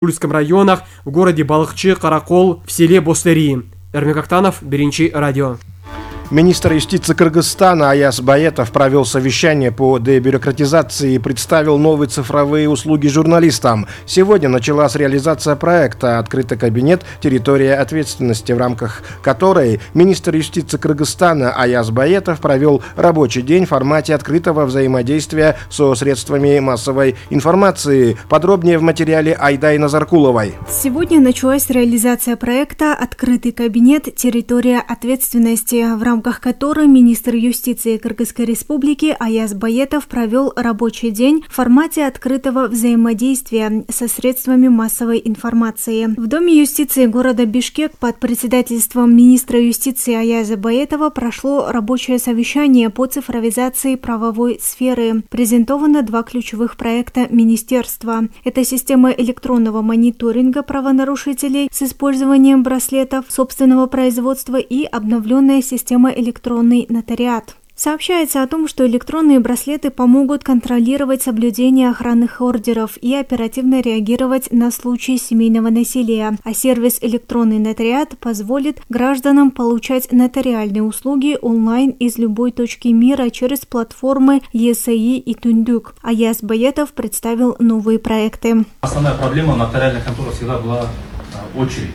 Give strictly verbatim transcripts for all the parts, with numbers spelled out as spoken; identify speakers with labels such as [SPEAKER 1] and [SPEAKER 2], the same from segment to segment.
[SPEAKER 1] Ульском районах, в городе Балыкчы, Каракол, в селе Бостери. Эрмек Актанов, Биринчи радио.
[SPEAKER 2] Министр юстиции Кыргызстана Аяз Баетов провел совещание по дебюрократизации и представил новые цифровые услуги журналистам. Сегодня началась реализация проекта «Открытый кабинет. Территория ответственности», в рамках которой министр юстиции Кыргызстана Аяз Баетов провел рабочий день в формате открытого взаимодействия со средствами массовой информации. Подробнее в материале Айдай Назаркуловой.
[SPEAKER 3] Сегодня началась реализация проекта «Открытый кабинет. Территория ответственности», в рамках В рамках которой министр юстиции Кыргызской республики Аяз Баетов провел рабочий день в формате открытого взаимодействия со средствами массовой информации. В Доме юстиции города Бишкек под председательством министра юстиции Аяза Баетова прошло рабочее совещание по цифровизации правовой сферы. Презентовано два ключевых проекта министерства. Это система электронного мониторинга правонарушителей с использованием браслетов собственного производства и обновленная система электронный нотариат. Сообщается о том, что электронные браслеты помогут контролировать соблюдение охранных ордеров и оперативно реагировать на случаи семейного насилия, а сервис «Электронный нотариат» позволит гражданам получать нотариальные услуги онлайн из любой точки мира через платформы ЕСАИ и Тундук. Аяз Баетов представил новые проекты.
[SPEAKER 4] Основная проблема нотариальной конторы всегда была очередь.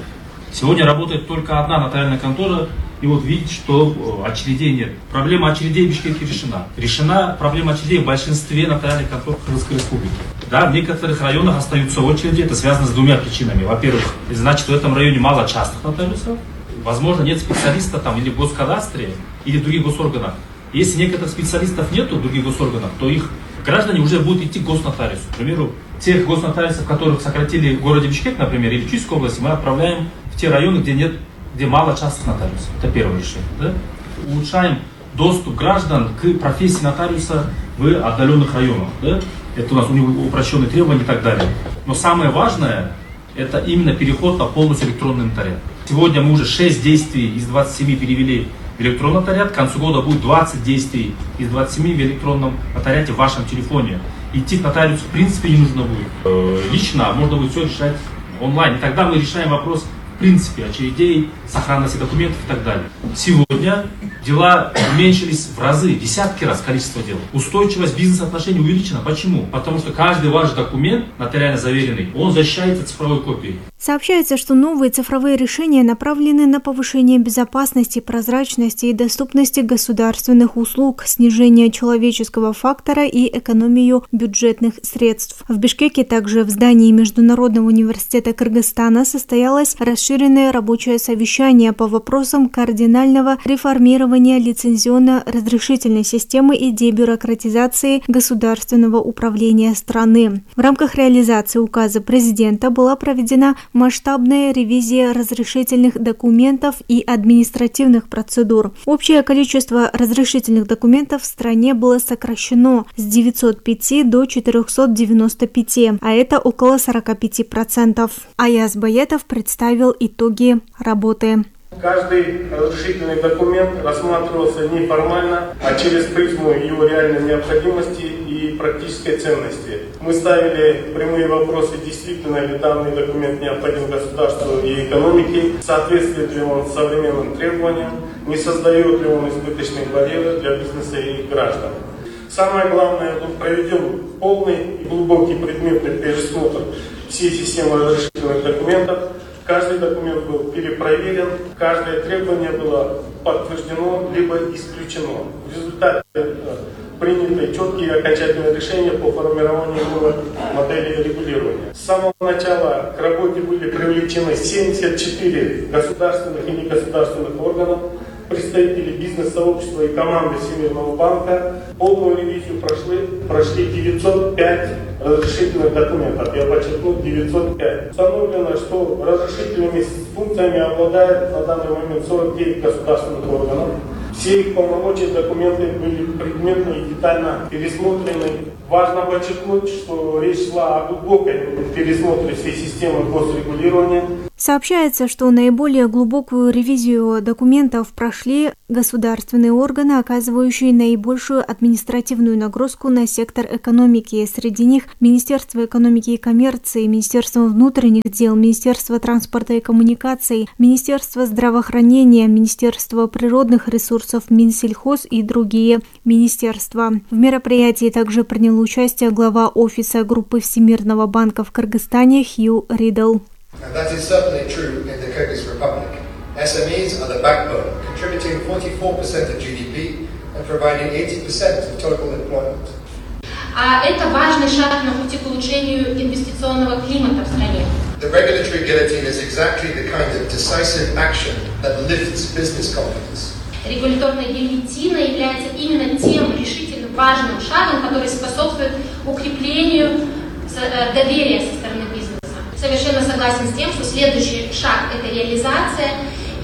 [SPEAKER 4] Сегодня работает только одна нотариальная контора. И вот видите, что очередей нет. Проблема очередей в Бишкеке решена. Решена проблема очередей в большинстве нотариальных контор Кыргызской республики. Да, в некоторых районах остаются очереди. Это связано с двумя причинами. Во-первых, значит, в этом районе мало частных нотариусов. Возможно, нет специалиста там или в госкадастре, или в других госорганах. Если некоторых специалистов нету в других госорганах, то их граждане уже будут идти к госнотариусу. К примеру, тех госнотариусов, которых сократили в городе Бишкек, например, или в Чуйской области, мы отправляем в те районы, где нет где мало частных нотариусов. Это первое решение. Да? Улучшаем доступ граждан к профессии нотариуса в отдаленных районах. Да? Это у нас у него упрощенные требования и так далее. Но самое важное, это именно переход на полностью электронный нотариат. Сегодня мы уже шесть действий из двадцати семи перевели в электронный нотариат. К концу года будет двадцать действий из двадцати семи в электронном нотариате в вашем телефоне. Идти к нотариусу в принципе не нужно будет. Лично можно будет все решать онлайн. И тогда мы решаем вопрос в принципе очередей, сохранности документов и так далее. Сегодня дела уменьшились в разы, десятки раз количество дел. Устойчивость бизнес-отношений увеличена. Почему? Потому что каждый ваш документ, нотариально заверенный, он защищается цифровой копией.
[SPEAKER 3] Сообщается, что новые цифровые решения направлены на повышение безопасности, прозрачности и доступности государственных услуг, снижение человеческого фактора и экономию бюджетных средств. В Бишкеке также в здании Международного университета Кыргызстана состоялось расширенное рабочее совещание по вопросам кардинального реформирования лицензионно-разрешительной системы и дебюрократизации государственного управления страны. В рамках реализации указа президента была проведена масштабная ревизия разрешительных документов и административных процедур. Общее количество разрешительных документов в стране было сокращено с девятисот пяти до четырехсот девяноста пяти, а это около сорока пяти процентов. Аяз Баетов представил итоги работы.
[SPEAKER 5] Каждый разрешительный документ рассматривался не формально, а через призму его реальной необходимости и практической ценности. Мы ставили прямые вопросы, действительно ли данный документ необходим государству и экономике, соответствует ли он современным требованиям, не создает ли он избыточные барьеры для бизнеса и граждан. Самое главное, был проведен полный и глубокий предметный пересмотр всей системы разрешительных документов. Каждый документ был перепроверен, каждое требование было подтверждено либо исключено. В результате приняты четкие и окончательные решения по формированию новой модели регулирования. С самого начала к работе были привлечены семьдесят четыре государственных и негосударственных органов, представители бизнес-сообщества и команды Всемирного банка. Полную ревизию прошли, прошли девятьсот пять разрешительных документов. Я подчеркну, девятьсот пять. Установлено, что разрешительными функциями обладает на данный момент сорок девять государственных органов. Все их полномочия, документы были предметно и детально пересмотрены Важно подчеркнуть, что речь шла о глубокой пересмотре всей системы госрегулирования.
[SPEAKER 3] Сообщается, что наиболее глубокую ревизию документов прошли государственные органы, оказывающие наибольшую административную нагрузку на сектор экономики. Среди них Министерство экономики и коммерции, Министерство внутренних дел, Министерство транспорта и коммуникаций, Министерство здравоохранения, Министерство природных ресурсов, Минсельхоз и другие министерства. В мероприятии также принял участие глава офиса группы Всемирного банка в Кыргызстане Хью Ридл.
[SPEAKER 6] And that is certainly true in the Kyrgyz Republic. эс эм и's are the backbone, contributing forty-four percent of джи ди пи and providing eighty percent of total employment.
[SPEAKER 7] А это важный шаг на пути к улучшению инвестиционного климата в стране.
[SPEAKER 6] The regulatory guillotine is exactly the kind of decisive action that lifts business confidence.
[SPEAKER 7] Регуляторная гильотина является именно тем решительно важным шагом, который способствует укреплению доверия со стороны бизнеса. Совершенно согласен с тем, что следующий шаг – это реализация,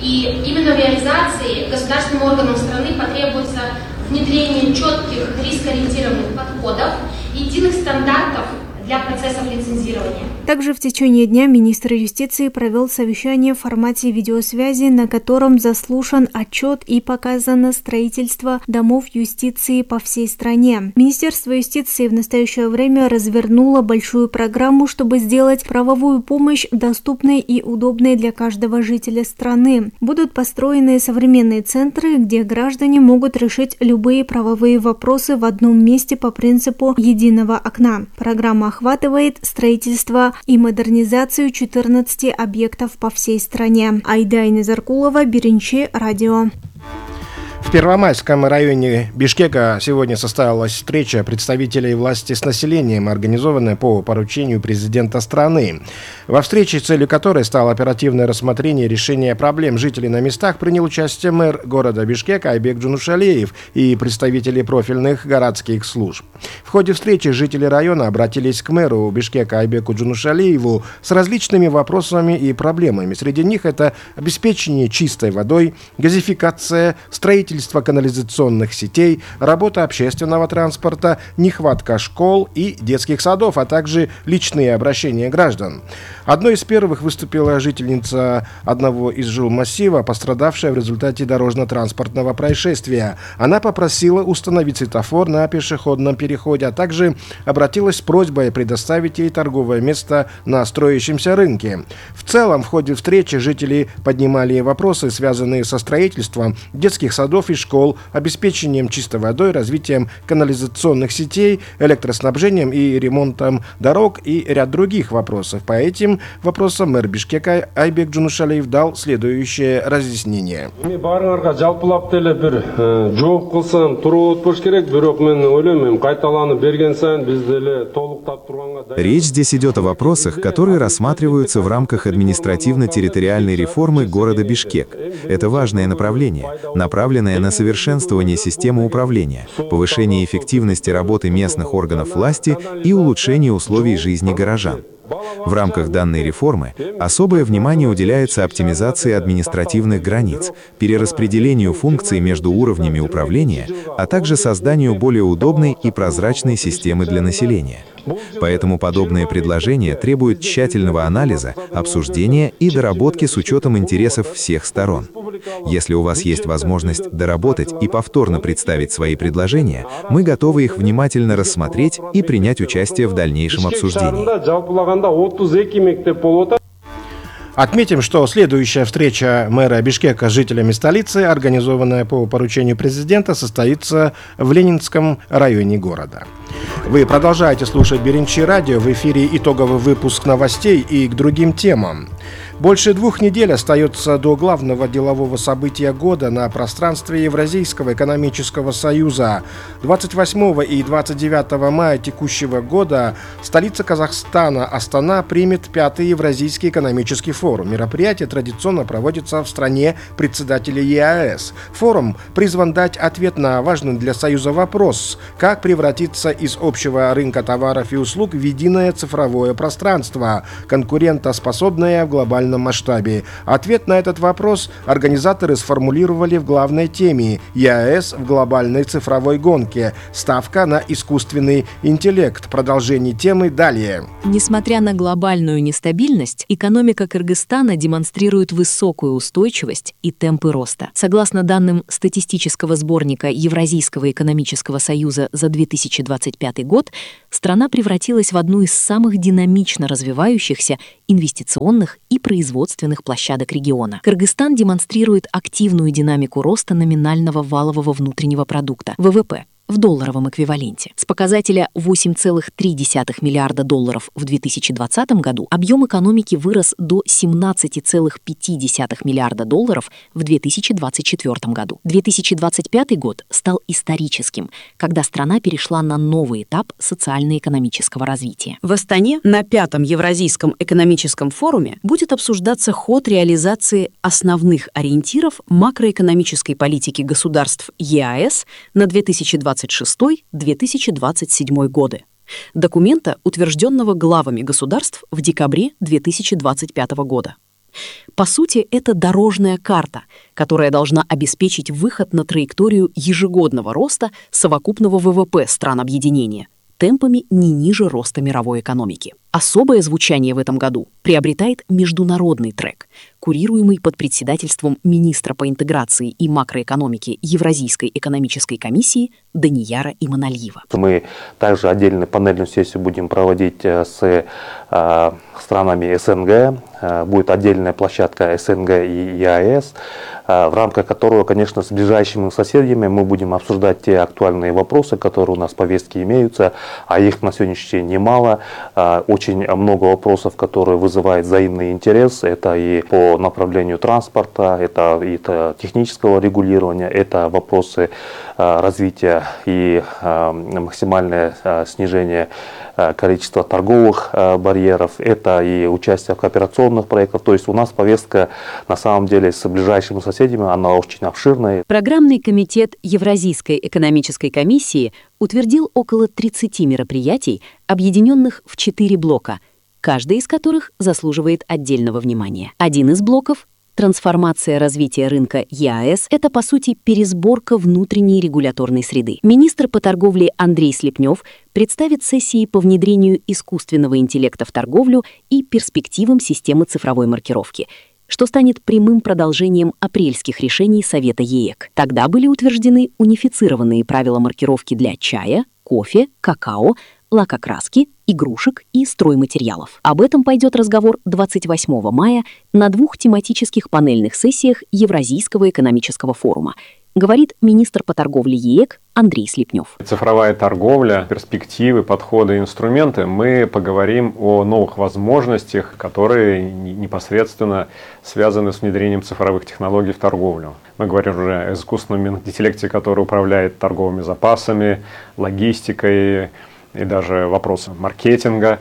[SPEAKER 7] и именно в реализации государственным органам страны потребуется внедрение четких рискоориентированных подходов и единых стандартов для процессов лицензирования.
[SPEAKER 3] Также в течение дня министр юстиции провел совещание в формате видеосвязи, на котором заслушан отчет и показано строительство домов юстиции по всей стране. Министерство юстиции в настоящее время развернуло большую программу, чтобы сделать правовую помощь доступной и удобной для каждого жителя страны. Будут построены современные центры, где граждане могут решить любые правовые вопросы в одном месте по принципу единого окна. Программа охватывает строительство и модернизацию четырнадцати объектов по всей стране. Айдайна Заркулова, Беренчи, радио.
[SPEAKER 2] В Первомайском районе Бишкека сегодня состоялась встреча представителей власти с населением, организованная по поручению президента страны. Во встрече, целью которой стало оперативное рассмотрение решения проблем жителей на местах, принял участие мэр города Бишкек Айбек Джунушалиев и представители профильных городских служб. В ходе встречи жители района обратились к мэру Бишкека Айбеку Джунушалиеву с различными вопросами и проблемами. Среди них это обеспечение чистой водой, газификация, строительство канализационных сетей, работа общественного транспорта, нехватка школ и детских садов, а также личные обращения граждан. Одной из первых выступила жительница одного из жилмассива, пострадавшая в результате дорожно-транспортного происшествия. Она попросила установить светофор на пешеходном переходе, а также обратилась с просьбой предоставить ей торговое место на строящемся рынке. В целом, в ходе встречи жители поднимали вопросы, связанные со строительством детских садов и школ, обеспечением чистой водой, развитием канализационных сетей, электроснабжением и ремонтом дорог и ряд других вопросов. По этим вопросам мэр Бишкека Айбек Джунушалиев дал следующее разъяснение.
[SPEAKER 8] Речь здесь идет о вопросах, которые рассматриваются в рамках административно-территориальной реформы города Бишкек. Это важное направление, направленное на совершенствование системы управления, повышение эффективности работы местных органов власти и улучшение условий жизни горожан. В рамках данной реформы особое внимание уделяется оптимизации административных границ, перераспределению функций между уровнями управления, а также созданию более удобной и прозрачной системы для населения. Поэтому подобные предложения требуют тщательного анализа, обсуждения и доработки с учетом интересов всех сторон. Если у вас есть возможность доработать и повторно представить свои предложения, мы готовы их внимательно рассмотреть и принять участие в дальнейшем обсуждении.
[SPEAKER 2] Отметим, что следующая встреча мэра Бишкека с жителями столицы, организованная по поручению президента, состоится в Ленинском районе города. Вы продолжаете слушать Беренчи радио, в эфире итоговый выпуск новостей и к другим темам. Больше двух недель остается до главного делового события года на пространстве Евразийского экономического союза. двадцать восьмого и двадцать девятого мая текущего года столица Казахстана Астана примет пятый Евразийский экономический форум. Мероприятие традиционно проводится в стране председателя ЕАЭС. Форум призван дать ответ на важный для Союза вопрос, как превратиться из общего рынка товаров и услуг в единое цифровое пространство, конкурентоспособное в глобальном масштабе. Ответ на этот вопрос организаторы сформулировали в главной теме ЕАЭС в глобальной цифровой гонке. Ставка на искусственный интеллект. Продолжение темы далее.
[SPEAKER 9] Несмотря на глобальную нестабильность, экономика Кыргызстана демонстрирует высокую устойчивость и темпы роста. Согласно данным статистического сборника Евразийского экономического союза за две тысячи двадцать пятый год, страна превратилась в одну из самых динамично развивающихся инвестиционных и производственных площадок региона. Кыргызстан демонстрирует активную динамику роста номинального валового внутреннего продукта, вэ вэ пэ, в долларовом эквиваленте. С показателя восемь целых три десятых миллиарда долларов в две тысячи двадцатом году объем экономики вырос до семнадцать целых пять десятых миллиарда долларов в две тысячи двадцать четвёртом году. две тысячи двадцать пятый год стал историческим, когда страна перешла на новый этап социально-экономического развития.
[SPEAKER 10] В Астане на пятом Евразийском экономическом форуме будет обсуждаться ход реализации основных ориентиров макроэкономической политики государств ЕАЭС на две тысячи двадцать шестой — две тысячи двадцать седьмой годы. Документа, утвержденного главами государств в декабре две тысячи двадцать пятого года. По сути, это дорожная карта, которая должна обеспечить выход на траекторию ежегодного роста совокупного вэ вэ пэ стран объединения темпами не ниже роста мировой экономики. Особое звучание в этом году приобретает международный трек, курируемый под председательством министра по интеграции и макроэкономике Евразийской экономической комиссии Данияра Иманалиева.
[SPEAKER 11] Мы также отдельную панельную сессию будем проводить с э, странами эс эн гэ. Э, будет отдельная площадка эс эн гэ и ЕАЭС, э, в рамках которого, конечно, с ближайшими соседями мы будем обсуждать те актуальные вопросы, которые у нас в повестке имеются, а их на сегодняшний день немало. Э, Очень много вопросов, которые вызывают взаимный интерес. Это и по направлению транспорта, это и это технического регулирования, это вопросы а, развития и а, максимальное а, снижение а, количества торговых а, барьеров, это и участие в кооперационных проектах. То есть у нас повестка на самом деле с ближайшими соседями, она очень обширная.
[SPEAKER 10] Программный комитет Евразийской экономической комиссии утвердил около тридцати мероприятий, объединенных в четыре блока, каждый из которых заслуживает отдельного внимания. Один из блоков — трансформация развития рынка ЕАЭС — это, по сути, пересборка внутренней регуляторной среды. Министр по торговле Андрей Слепнев представит сессии по внедрению искусственного интеллекта в торговлю и перспективам системы цифровой маркировки, что станет прямым продолжением апрельских решений Совета ЕЭК. Тогда были утверждены унифицированные правила маркировки для чая, кофе, какао, лакокраски, игрушек и стройматериалов. Об этом пойдет разговор двадцать восьмого мая на двух тематических панельных сессиях Евразийского экономического форума, говорит министр по торговле ЕЭК Андрей Слепнев.
[SPEAKER 12] Цифровая торговля, перспективы, подходы, инструменты. Мы поговорим о новых возможностях, которые непосредственно связаны с внедрением цифровых технологий в торговлю. Мы говорим уже о искусственном интеллекте, который управляет торговыми запасами, логистикой и даже вопросом маркетинга.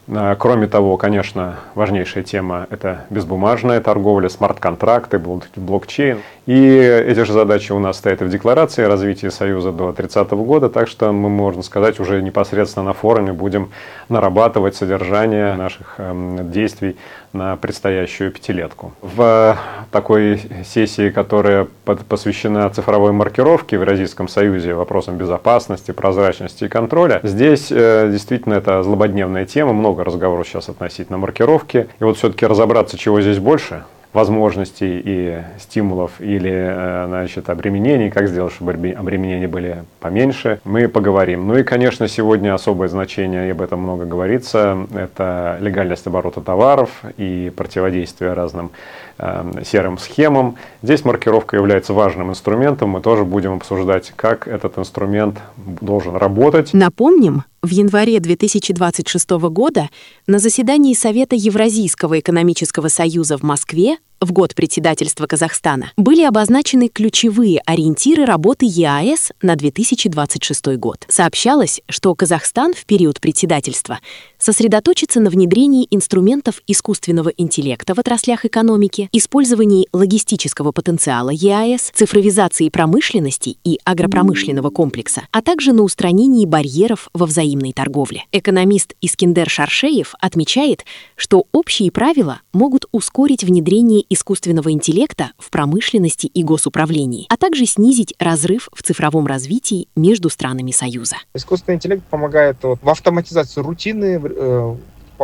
[SPEAKER 12] Кроме того, конечно, важнейшая тема – это безбумажная торговля, смарт-контракты, блокчейн. И эти же задачи у нас стоят и в декларации развития Союза до тридцатого года, так что мы, можно сказать, уже непосредственно на форуме будем нарабатывать содержание наших э, действий на предстоящую пятилетку. В такой сессии, которая под, посвящена цифровой маркировке в Евразийском Союзе, вопросам безопасности, прозрачности и контроля, здесь э, действительно это злободневная тема, много разговоров сейчас относительно маркировки. И вот все-таки разобраться, чего здесь больше – возможностей и стимулов или, значит, обременений, как сделать, чтобы обременения были поменьше, мы поговорим. Ну и, конечно, сегодня особое значение, и об этом много говорится, это легальность оборота товаров и противодействие разным э, серым схемам. Здесь маркировка является важным инструментом, мы тоже будем обсуждать, как этот инструмент должен работать.
[SPEAKER 10] Напомним, в январе две тысячи двадцать шестого года на заседании Совета Евразийского экономического союза в Москве в год председательства Казахстана были обозначены ключевые ориентиры работы ЕАЭС на две тысячи двадцать шестой год. Сообщалось, что Казахстан в период председательства сосредоточится на внедрении инструментов искусственного интеллекта в отраслях экономики, использовании логистического потенциала ЕАЭС, цифровизации промышленности и агропромышленного комплекса, а также на устранении барьеров во взаимодействии
[SPEAKER 9] взаимной торговле. Экономист Искендер Шаршеев отмечает, что общие правила могут ускорить внедрение искусственного интеллекта в промышленности и госуправлении, а также снизить разрыв в цифровом развитии между странами Союза.
[SPEAKER 13] Искусственный интеллект помогает вот, в автоматизации рутины, э,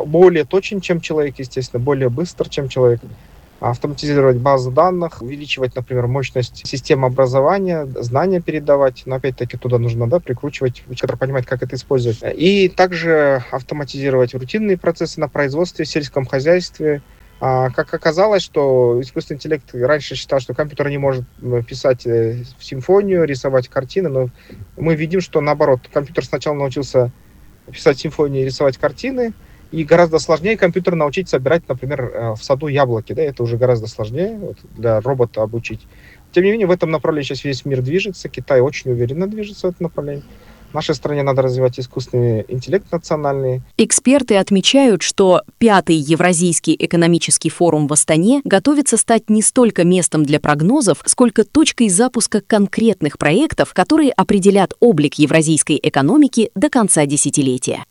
[SPEAKER 13] более точен, чем человек, естественно, более быстр, чем человек. Автоматизировать базы данных, увеличивать, например, мощность системы образования, знания передавать, но опять-таки туда нужно да, прикручивать, который понимает, как это использовать. И также автоматизировать рутинные процессы на производстве, в сельском хозяйстве. А как оказалось, что искусственный интеллект раньше считал, что компьютер не может писать симфонию, рисовать картины, но мы видим, что наоборот, компьютер сначала научился писать симфонии и рисовать картины, и гораздо сложнее компьютер научить собирать, например, в саду яблоки. Да, это уже гораздо сложнее вот, для робота обучить. Тем не менее, в этом направлении сейчас весь мир движется. Китай очень уверенно движется в этом направлении. В нашей стране надо развивать искусственный интеллект национальный.
[SPEAKER 9] Эксперты отмечают, что пятый Евразийский экономический форум в Астане готовится стать не столько местом для прогнозов, сколько точкой запуска конкретных проектов, которые определят облик евразийской экономики до конца десятилетия.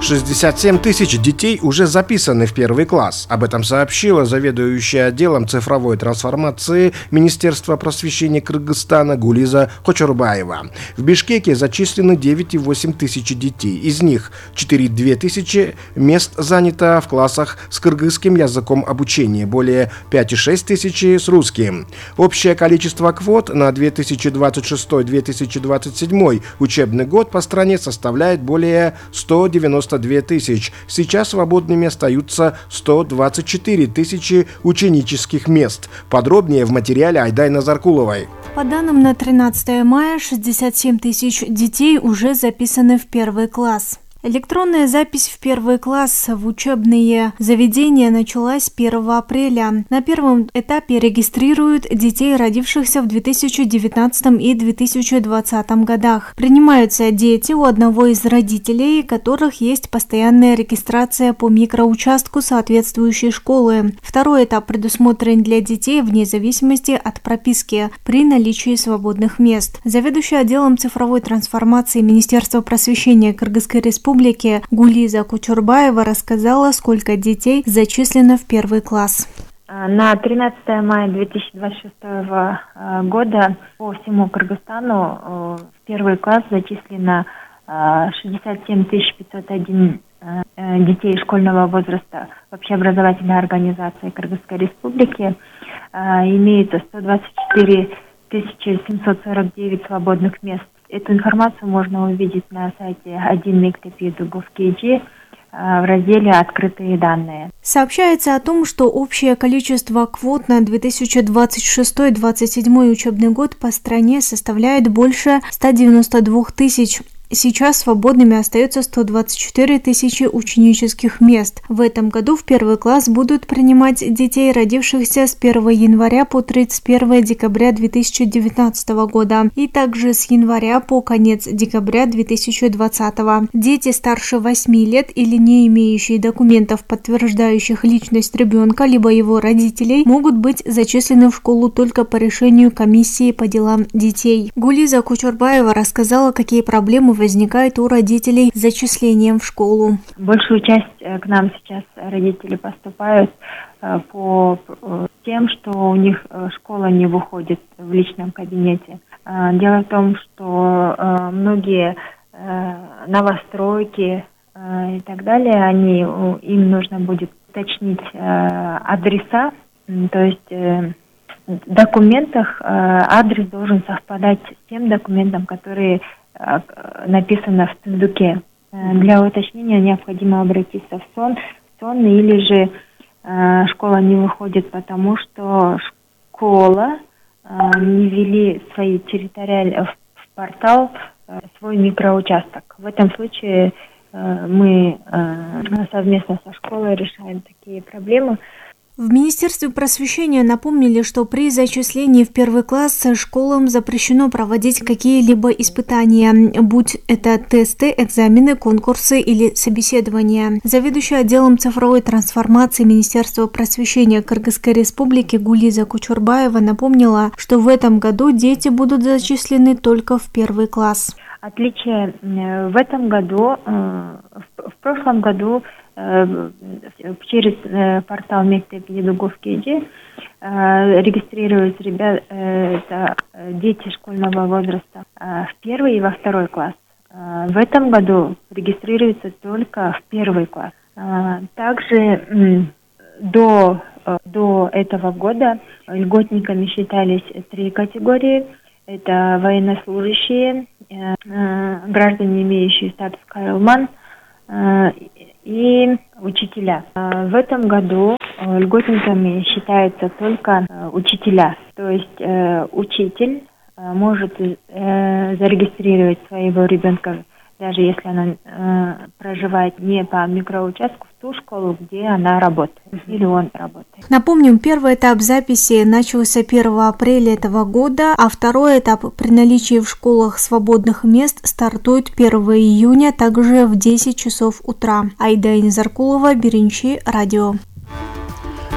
[SPEAKER 2] шестьдесят семь тысяч детей уже записаны в первый класс. Об этом сообщила заведующая отделом цифровой трансформации Министерства просвещения Кыргызстана Гулиза Кочурбаева. В Бишкеке зачислены девять целых восемь десятых тысячи детей. Из них четыре целых две тысячи мест занято в классах с кыргызским языком обучения, более пять целых шесть десятых тысячи с русским. Общее количество квот на две тысячи двадцать шестой — две тысячи двадцать седьмой учебный год по стране составляет более ста девяноста двух тысяч. Сейчас свободными остаются сто двадцать четыре тысячи ученических мест. Подробнее в материале Айдай Заркуловой.
[SPEAKER 3] По данным на тринадцатое мая, шестьдесят семь тысяч детей уже записаны в первый класс. Электронная запись в первый класс в учебные заведения началась первого апреля. На первом этапе регистрируют детей, родившихся в две тысячи девятнадцатом и две тысячи двадцатом годах. Принимаются дети у одного из родителей, у которых есть постоянная регистрация по микроучастку соответствующей школы. Второй этап предусмотрен для детей вне зависимости от прописки при наличии свободных мест. Заведующая отделом цифровой трансформации Министерства просвещения Кыргызской Республики Гулиза Кочурбаева рассказала, сколько детей зачислено в первый класс.
[SPEAKER 14] На тринадцатое мая две тысячи двадцать шестого года по всему Кыргызстану в первый класс зачислено шестьдесят семь тысяч пятьсот один детей школьного возраста в общеобразовательной организации Кыргызской Республики. Имеется сто двадцать четыре тысячи семьсот сорок девять свободных мест. Эту информацию можно увидеть на сайте один мектеп точка гов точка кей в разделе «Открытые данные».
[SPEAKER 3] Сообщается о том, что общее количество квот на две тысячи двадцать шестой — две тысячи двадцать седьмой учебный год по стране составляет больше ста девяноста двух тысяч. Сейчас свободными остается сто двадцать четыре тысячи ученических мест. В этом году в первый класс будут принимать детей, родившихся с первого января по тридцать первое декабря две тысячи девятнадцатого года и также с января по конец декабря две тысячи двадцатого. Дети старше восьми лет или не имеющие документов, подтверждающих личность ребенка либо его родителей, могут быть зачислены в школу только по решению комиссии по делам детей. Гулиза Кочурбаева рассказала, какие проблемы возникает у родителей с зачислением в школу.
[SPEAKER 14] Большую часть к нам сейчас родители поступают по тем, что у них школа не выходит в личном кабинете. Дело в том, что многие новостройки и так далее, они, им нужно будет уточнить адреса, то есть в документах адрес должен совпадать с тем документом, который написано в сундуке. Для уточнения необходимо обратиться в сон, в сон или же э, школа не выходит, потому что школа э, не ввели свои территориальные в портал э, свой микроучасток. В этом случае э, мы э, совместно со школой решаем такие проблемы.
[SPEAKER 3] В Министерстве просвещения напомнили, что при зачислении в первый класс школам запрещено проводить какие-либо испытания, будь это тесты, экзамены, конкурсы или собеседования. Заведующая отделом цифровой трансформации Министерства просвещения Кыргызской Республики Гулиза Кочурбаева напомнила, что в этом году дети будут зачислены только в первый класс.
[SPEAKER 14] Отличие в этом году, в прошлом году через портал Мектеп Едуговский регистрируются ребята, дети школьного возраста в первый и во второй класс. В этом году регистрируются только в первый класс. Также до, до этого года льготниками считались три категории. Это военнослужащие, граждане, имеющие статус Кайлман, и учителя. В этом году льготниками считаются только учителя. То есть учитель может зарегистрировать своего ребенка, даже если она э, проживает не по микроучастку, в ту школу, где она работает, или он работает.
[SPEAKER 3] Напомним, первый этап записи начался первого апреля этого года, а второй этап при наличии в школах свободных мест стартует первого июня, также в десять часов утра. Айда Инзаркулова, Беренчи, радио.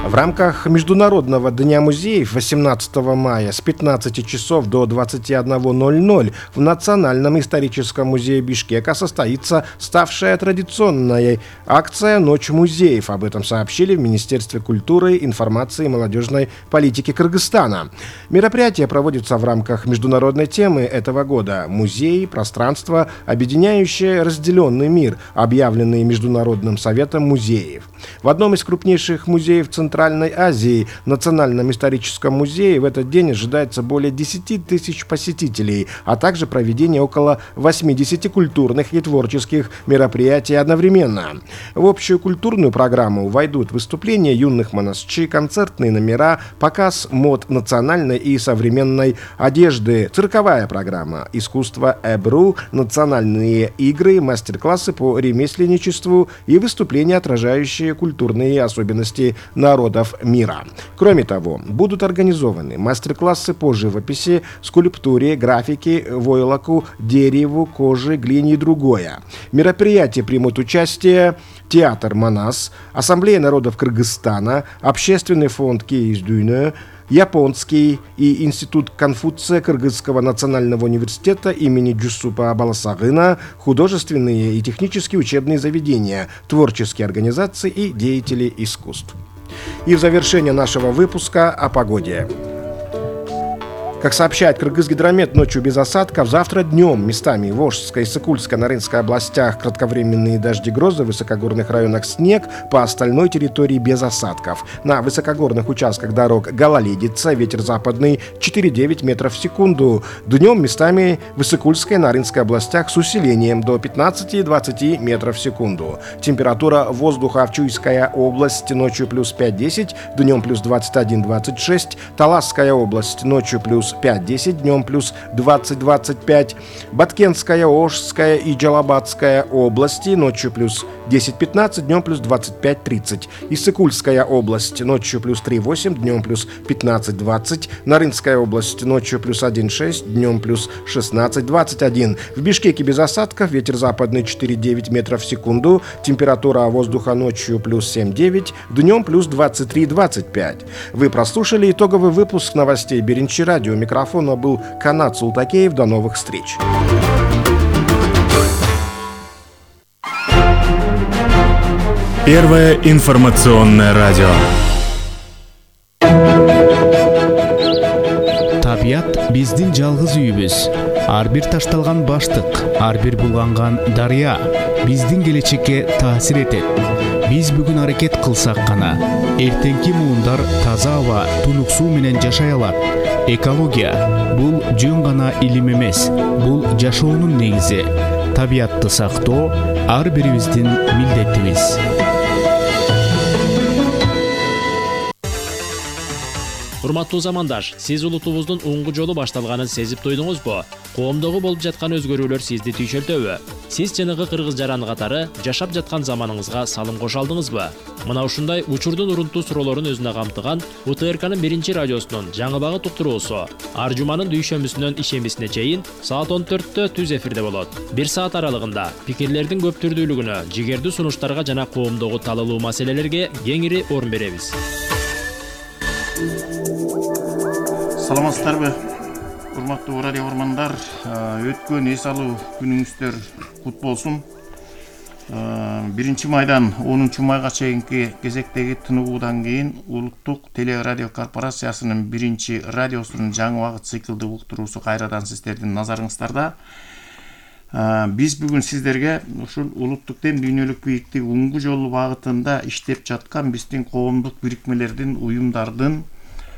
[SPEAKER 2] В рамках Международного дня музеев восемнадцатого мая с пятнадцати часов до двадцати одного ноль-ноль в Национальном историческом музее Бишкека состоится ставшая традиционной акция «Ночь музеев». Об этом сообщили в Министерстве культуры, информации и молодежной политики Кыргызстана. Мероприятие проводится в рамках международной темы этого года «Музей. Пространство, объединяющее разделенный мир», объявленный Международным советом музеев. В одном из крупнейших музеев Центральной Азии, Национальном историческом музее, в этот день ожидается более десяти тысяч посетителей, а также проведение около восьмидесяти культурных и творческих мероприятий одновременно. В общую культурную программу войдут выступления юных монастырей, концертные номера, показ мод национальной и современной одежды, цирковая программа, искусство Эбру, национальные игры, мастер-классы по ремесленничеству и выступления, отражающие культурные особенности народов мира. Кроме того, будут организованы мастер-классы по живописи, скульптуре, графике, войлоку, дереву, коже, глине и другое. В мероприятии примут участие театр «Манас», Ассамблея народов Кыргызстана, Общественный фонд Кейздюйне, Японский и Институт Конфуция Кыргызского национального университета имени Джусупа Баласагына, художественные и технические учебные заведения, творческие организации и деятели искусств. И в завершение нашего выпуска о погоде. Как сообщает Кыргызгидромет, ночью без осадков, завтра днем местами в Волжской, Сыкульской, Нарынской областях кратковременные дожди, грозы, в высокогорных районах снег, по остальной территории без осадков. На высокогорных участках дорог гололедица, ветер западный четыре-девять метров в секунду. Днем местами в Сыкульской, Нарынской областях с усилением до пятнадцати-двадцати метров в секунду. Температура воздуха в Чуйская область ночью плюс пять-десять, днем плюс двадцать один-двадцать шесть, Таласская область ночью плюс пять-десять, днем плюс двадцать-двадцать пять, Баткенская, Ошская и Джалабадская области ночью плюс десять-пятнадцать, днем плюс двадцать пять-тридцать, Иссыкульская область ночью плюс три-восемь, днем плюс пятнадцать-двадцать, Нарынская область ночью плюс один-шесть, днем плюс шестнадцать-двадцать один. В Бишкеке без осадков, ветер западный четыре-девять метров в секунду, температура воздуха ночью плюс семь-девять, днем плюс двадцать три-двадцать пять. Вы прослушали итоговый выпуск новостей Беренчи радио. У микрофона был Канат Султакеев. До новых встреч.
[SPEAKER 15] Первое информационное радио. Табият биздин жалгыз үйүбүз. Ар бир ташталган баштык, ар бир булганган дарыя биздин келечекке таасир этет. Биз бүгүн аракет кылсак гана эртеңки муундар таза аба, тунук суу менен жашай алат. Экология бул жөн гана илим эмес, бул жашоонун негизи. Табиатты сактоо ар бирибиздин милдетибиз.
[SPEAKER 16] Урматтуу замандаш, сиз улутубуздун уңгу жолу башталганын сезип туйдуңузбу? Коомдогу болуп жаткан өзгөрүүлөр сизди түйшөлтөбү? Сиз жанагы кыргыз жаран катары жашап жаткан заманыңызга салым кошо алдыңызбы? Мына ушундай учурдун урунтуу суроолорун өзүнө камтыган У Т Р К'нын биринчи радиосунун жаңы багыт уктуруусу ар жуманын дүйшөмбүсүнөн ишембисине чейин саат он төрттө түз эфирде болот. Бир саат аралыгында пикирлердин көп түрдүүлүгүнө, жигердүү сунуштарга жана коомдогу талалуу маселелерге кеңири орун беребиз.
[SPEAKER 17] Саламатсыздарбы, урматтуу радио көрөрмандар, өткөн эс алуу күнүңүздөр кут болсун. биринчи майдан онунчу майга чейинки кезектеги тыныгуудан кийин Улуттук телерадио корпорациясынын биринчи радиосунун жаңы убакыт циклдык уктуруусу кайрадан сиздердин назарыңыздарда. Биз бүгүн сиздерге ушул улуттук тем дүйнөлүк бийиктик уңгу жолу багытында иштеп жаткан биздин коомдук бирикмелердин, уюмдардын,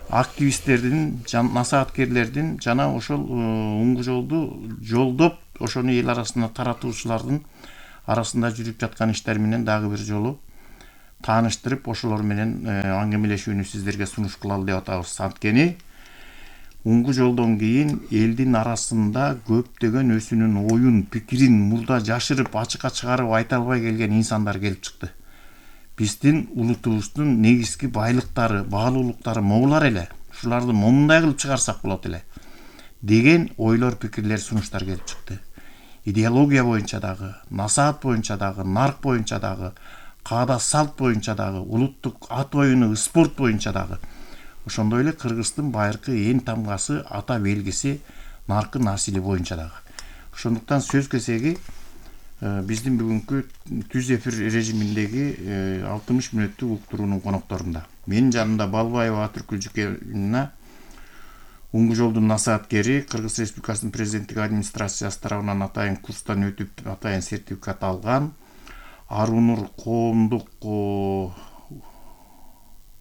[SPEAKER 17] активисттердин, насааткерлердин жана ошол уңгу жолду жолдоп, ошону эл арасына таратуучулардын арасында жүрүп жаткан иштер менен дагы бир жолу тааныштырып, ошолор менен аңгемелешүүнү сиздерге сунуш кылалы деп атабыз. Анткени уңгу жолдон кийин элдин арасында көптөгөн өзүнүн оюн, пикирин мурда жашырып, ачыкка чыгарып айта албай келген инсандар келип чыкты. Биздин улутубуздун негизги байлыктары, баалуулуктары могулар эле. Ушуларды момундай кылып чыгарсак болот эле деген ойлор, пикирлер, сунуштар келип чыкты. Идеология боюнча дагы, насаат боюнча дагы, нарк боюнча дагы, каада салт боюнча дагы, улуттук ат оюну, спорт боюнча дагы. Ошондой эле Кыргыздын байыркы эң тамгасы, ата белгиси наркы насили боюнча дагы. Ошондуктан сөз кезеги биздин бүгүнкү түз эфир режиминдеги алтымыш мүнөттүк уктуруунун конокторунда. Менин жанымда Балбаева Атыркүл Жүкевна, уңгу жолдун насааткери, Кыргыз Республикасынын президенттик администрациясы тарабынан атайын курстан өтүп, атайын сертификат алган, Арунур коомдук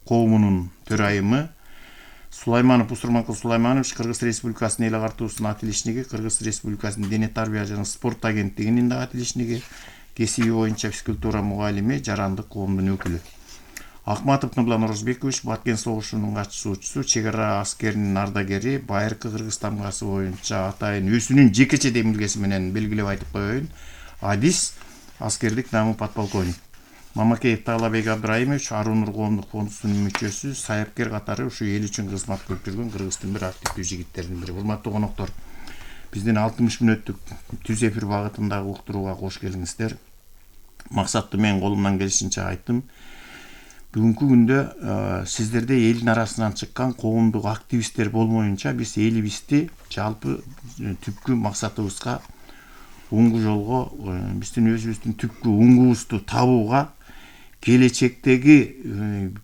[SPEAKER 17] коомунун төрайымы, Сулайманов Усурманкул Сулайманович, Кыргыз Республикасынын эл агартуусунун атилишниги, Кыргыз Республикасынын дене тарбия жана спорт агенттигинин да атилишниги, кесиби боюнча физкультура мугалими, жарандык коомдун өкүлү. Акматов Нурлан Орозбекович, Баткен согушунун катышуучусу, чек ара аскеринин ардагери, байыркы Кыргыз тамгасы боюнча атайын өзүнүн жекече демилгеси менен белгилеп айтып коеюн, адис, аскердик намы подполковник. Мамакеев Таалабек Абдрайымович, Арунур коомдук фондусунун мүчөсү, саяпкер катары ушу эл үчүн кызмат кылып жүргөн Кыргыздын бир активдүү жигиттеринин бири. Урматтуу коноктор, биздин алтымыш мүнөттүк түз эфир багытындагы уктурууга кош келиңиздер. Максатты мен колумдан келишинче айттым. Бүгүнкү күндө сиздерде элдин арасынан чыккан коомдук активисттер болмоюнча биз элибизди жалпы түпкү максатыбызга, уңгу жолго, биздин өзүбүздүн түпкү уңгубузду табууга, келечектеги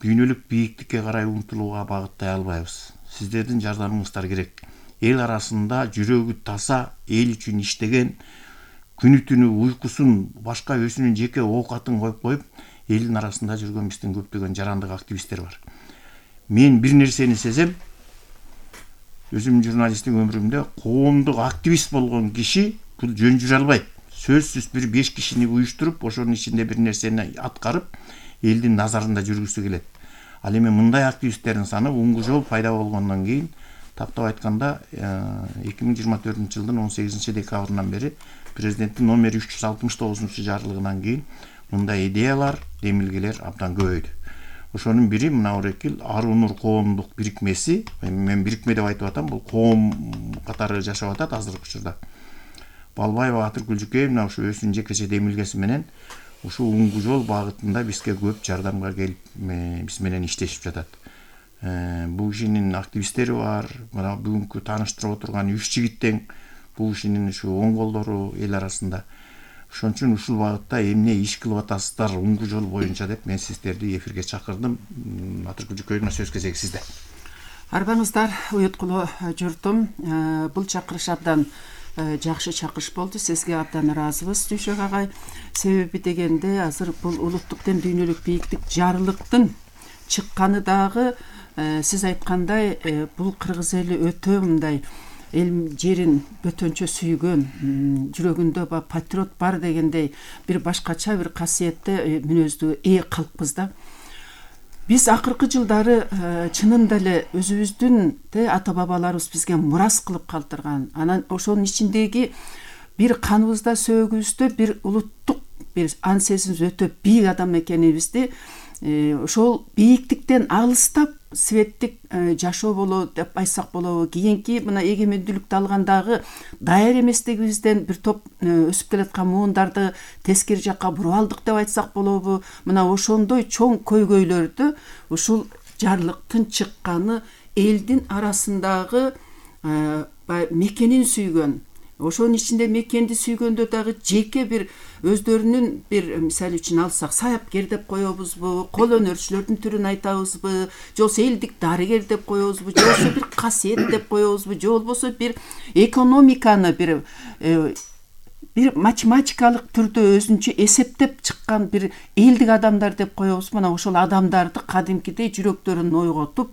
[SPEAKER 17] дүйнөлүк бийиктикке карай умтулууга багыттай албайбыз. Сиздердин жардамыңыздар керек. Эл арасында жүрөгү таза, эл үчүн иштеген, күнү түнү уйкусун, башка өзүнүн жеке оокатын коюп коюп, элдин арасында жүргөн биздин көптөгөн жарандык активисттер бар. Мен бир нерсени сезем, өзүмдүн журналисттик өмүрүмдө коомдук активист болгон киши бул жөн жүрө албайт. Сөзсүз бир беш кишини уюштуруп, ошонун ичинде бир нерсени аткарып, элдин назарында жүргүсү келет. Ал эми мындай активисттердин саны уңгу жол пайда болгондон кийин, тактап айтканда эки миң жыйырма төртүнчү жылдын он сегизинчи декабрынан бери президенттин номер үч жүз алтымыш тогузунчу жарлыгынан кийин мындай идеялар, демилгелер абдан көбөйдү. Ошонун бири мына Орекил Арунур коомдук бирикмеси, мен бирикме деп айтып атам, бул коом катары жашап атат азыркы учурда. Балбаева Атыркүл Жүкевна ушу өзүнүн жекече демилгеси менен ушу уңгу жол багытында бизге көп жардамга келип, биз менен иштешип жатат. Бул кишинин активисттери бар, мына бүгүнкү тааныштырып отурган үч жигиттен бул кишинин ушу оң колдору эл арасында. Ошон үчүн ушул багытта эмне иш кылып атасыздар уңгу жол боюнча деп мен сиздерди эфирге чакырдым. Атыркүл Жүкевна, сөз кезеги сизде.
[SPEAKER 18] Арбаңыздар, уюткулуу журтум, бул чакырыш абдан жакшы чакырыш болду. Сизге абдан ыраазыбыз, Дүйшөк агай. Себеби дегенде азыр бул улуттук тем дүйнөлүк бийиктик жарылыктын чыкканы дагы сиз айткандай бул кыргыз эли өтө мындай эл жерин бөтөнчө сүйгөн, жүрөгүндө патриот бар дегендей бир башкача бир касиетте мүнөздүү ээ калкпыз да. Биз акыркы жылдары чынында эле өзүбүздүн ата бабаларыбыз бизге мурас кылып калтырган, анан ошонун ичиндеги бир каныбызда, сөөгүбүздө бир улуттук бир ан сезимибиз өтө бийик адам экенибизди ошол бийиктиктен алыстап светтик жашоо болобу деп айтсак болобу, кийинки мына эгемендүүлүктү алгандагы даяр эместигибизден бир топ өсүп келаткан муундарды тескери жакка буруп алдык деп айтсак болобу, мына ошондой чоң көйгөйлөрдү ушул жарлыктын чыкканы элдин арасындагы мекенин сүйгөн, ошонун ичинде мекенди сүйгөндө дагы жеке бир өздөрүнүн бир мисалы үчүн алсак саяпкер деп коебузбу, кол өнөрчүлөрдүн түрүн айтабызбы, же болбосо элдик дарыгер деп коебузбу, же болбосо бир касиет деп коебузбу, же болбосо бир экономиканы бир бир математикалык түрдө өзүнчө эсептеп чыккан бир элдик адамдар деп коебузбу. Мына ошол адамдарды кадимкидей жүрөктөрүн ойготуп,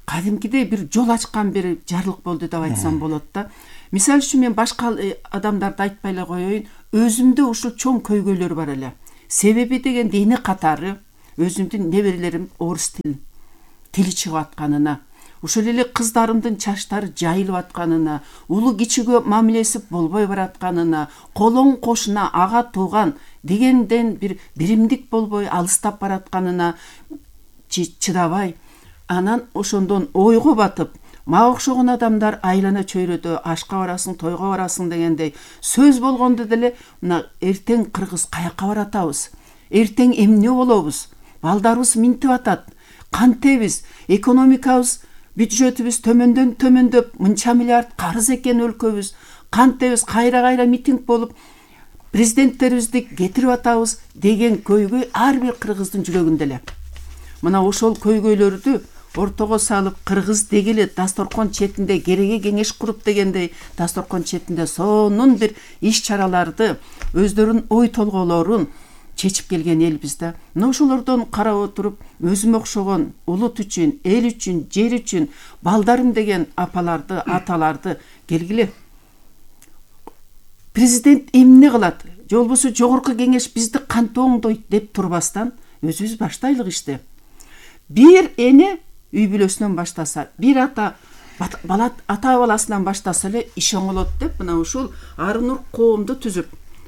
[SPEAKER 18] кадимкидей бир жол ачкан бир жарлык болду деп айтсам болот да. Мисалы үчүн мен башка адамдарды айтпай эле коеюн, өзүмдө ушул чоң көйгөйлөр бар эле. Себеби дегенде эне катары өзүмдүн неберелерим орус тил тили чыгып атканына, ошол эле кыздарымдын чачтары жайылып атканына, улуу кичүүгө мамилеси болбой баратканына, колоң кошуна, ага тууган дегенден бир биримдик болбой алыстап баратканына чыдабай, анан ошондон ойго батып, мага окшогон адамдар айлана чөйрөдө ашка барасың, тойго барасың дегендей сөз болгондо деле мына эртең кыргыз каяка баратабыз, эртең эмне болобуз, балдарыбыз минтип атат, кантебиз, экономикабыз, бюджетибиз төмөндөн төмөндөп, мынча миллиард карыз экен өлкөбүз, кантебиз, кайра-кайра митинг болуп, президенттерибизди кетирип атабыз деген көйгөй ар бир кыргыздын жүрөгүндө эле. Мына ошол көйгөйлөрдү ортого салып, кыргыз дегеле дасторкон четинде кереге кеңеш куруп дегендей, дасторкон четинде сонун бир иш-чараларды, өздөрүнүн ой толгоолорун чечип келген элбиз да. Мына ошолордон карап отуруп, өзүм окшогон улут үчүн, эл үчүн, жер үчүн балдарым деген апаларды, аталарды келгиле. Президент эмне кылат? Же болбосо жогорку кеңеш бизди кантип оңдойт деп турбастан, өзүбүз баштайлык ишти. Бир эне үй бүлөсүнөн баштаса, бир ата бала ата баласынан баштаса эле иш оңолот деп, мына ушул Арынур коомду түзүп,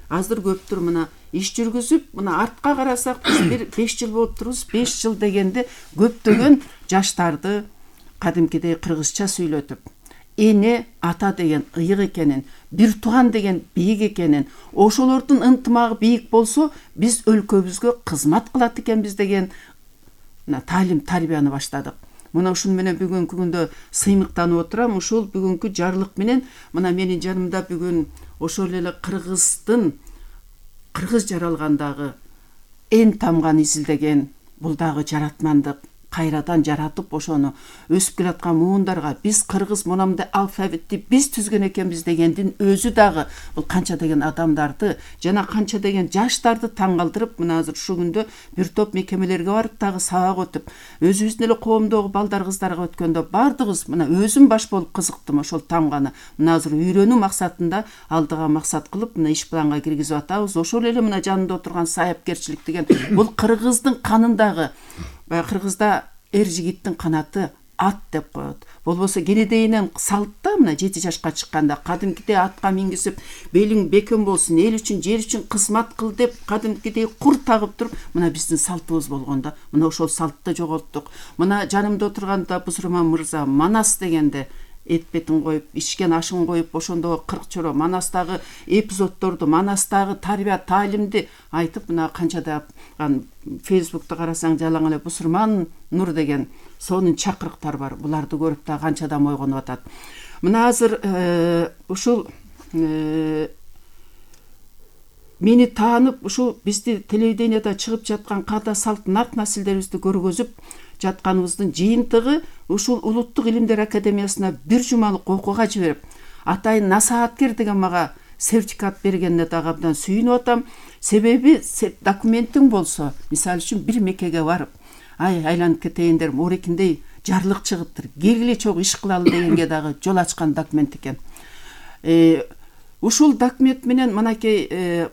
[SPEAKER 18] азыр көптүр мына иш жүргүзүп, мына артка карасак биз бир беш жыл болуп турбуз, беш жыл дегенде көптөгөн жаштарды кадимкидей кыргызча сүйлөтүп, эне ата деген ыйык экенин, бир тууган деген бийик экенин, ошолордун ынтымагы бийик болсо, биз өлкөбүзгө кызмат кылат экенбиз деген таалим тарбияны баштадык. Мына ушун менен бүгүнкү күндө сыймыктанып отурам. Ушул бүгүнкү жарлык менен мына менин жанымда бүгүн ошол эле кыргыздын кыргыз жаралгандагы эн тамган изилдеген бул дагы жаратмандык, кайрадан жаратып ошону өсүп келаткан муундарга биз кыргыз монамда алфавитти биз түзгөн экенбиз дегендин өзү дагы бул канча деген адамдарды жана канча деген жаштарды таң калтырып, мына азыр ушул күндө бир топ мекемелерге барып дагы сабак өтүп, өзүбүздүн эле коомдогу балдар кыздарга өткөндө бардыгыбыз мына өзүм баш болуп кызыктым ошол тамганы. Мына азыр үйрөнүү максатында алдыга максат кылып мына иш планга киргизип атабыз. Ошол эле мына жанында отурган саяпкерчилик деген бул кыргыздын канындагы. Кыргызда эр жигиттин канаты ат деп коет. Болбосо кенедейинен салтта мына жети жашка чыкканда кадимкидей атка мингизип, белиң бекем болсун, эл үчүн, жер үчүн кызмат кыл деп кадимкидей кур тагып туруп, мына биздин салтыбыз болгондо, мына ошол салтты жоготтук. Мына жанымда отурганда Бузурман мырза Манас дегенде эт бетин коюп, ичкен ашын коюп, ошондогу кырк чоро Манастагы эпизоддорду, Манастагы тарбия таалимди айтып, мына канчада Фейсбукту карасаң жалаң эле Бузурман Нур деген сонун чакырыктар бар. Буларды көрүп да канчадан ойгонуп атат. Мына азыр ушул мени таанып, ушул бизди телевиденияда чыгып жаткан када салт нарт насилдерибизди көргөзүп жатканыбыздын жыйынтыгы ушул Улуттук Илимдер Академиясына бир жумалык окууга жиберип, атайын насааткер деген мага сертификат бергенине дагы абдан сүйүнүп атам. Себеби документиң болсо, мисалы үчүн бир мекеге барып, ай айланып кетейиндер, морекиндей жарлык чыгыптыр, келгиле чогуу иш кылалы дегенге дагы жол ачкан документ экен. Ушул документ менен мынакей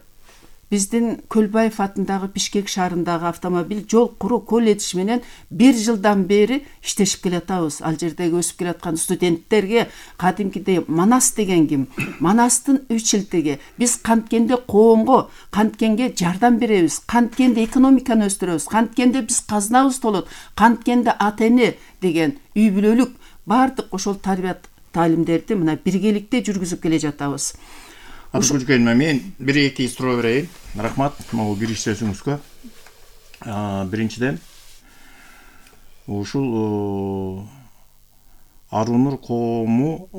[SPEAKER 18] биздин Көлбаев атындагы Бишкек шаарындагы автомобиль жол куруу колледж менен бир жылдан бери иштешип келатабыз. Ал жердеги өсүп келаткан студенттерге кадимкидей Манас деген ким? Манастын үч илтиги. Биз канткенде коомго, канткенге жардам беребиз, канткенде экономиканы өстүрөбүз, канткенде биз казнабыз толот, канткенде ата-эне деген үй бүлөлүк бардык ошол тарбият таалимдерди мына биргеликте жүргүзүп келе жатабыз.
[SPEAKER 17] Атыкүлкөн мен бир эки суроо берейин. Рахмат могу кириш сөзүңүзгө. Биринчиден ушул Арунур коому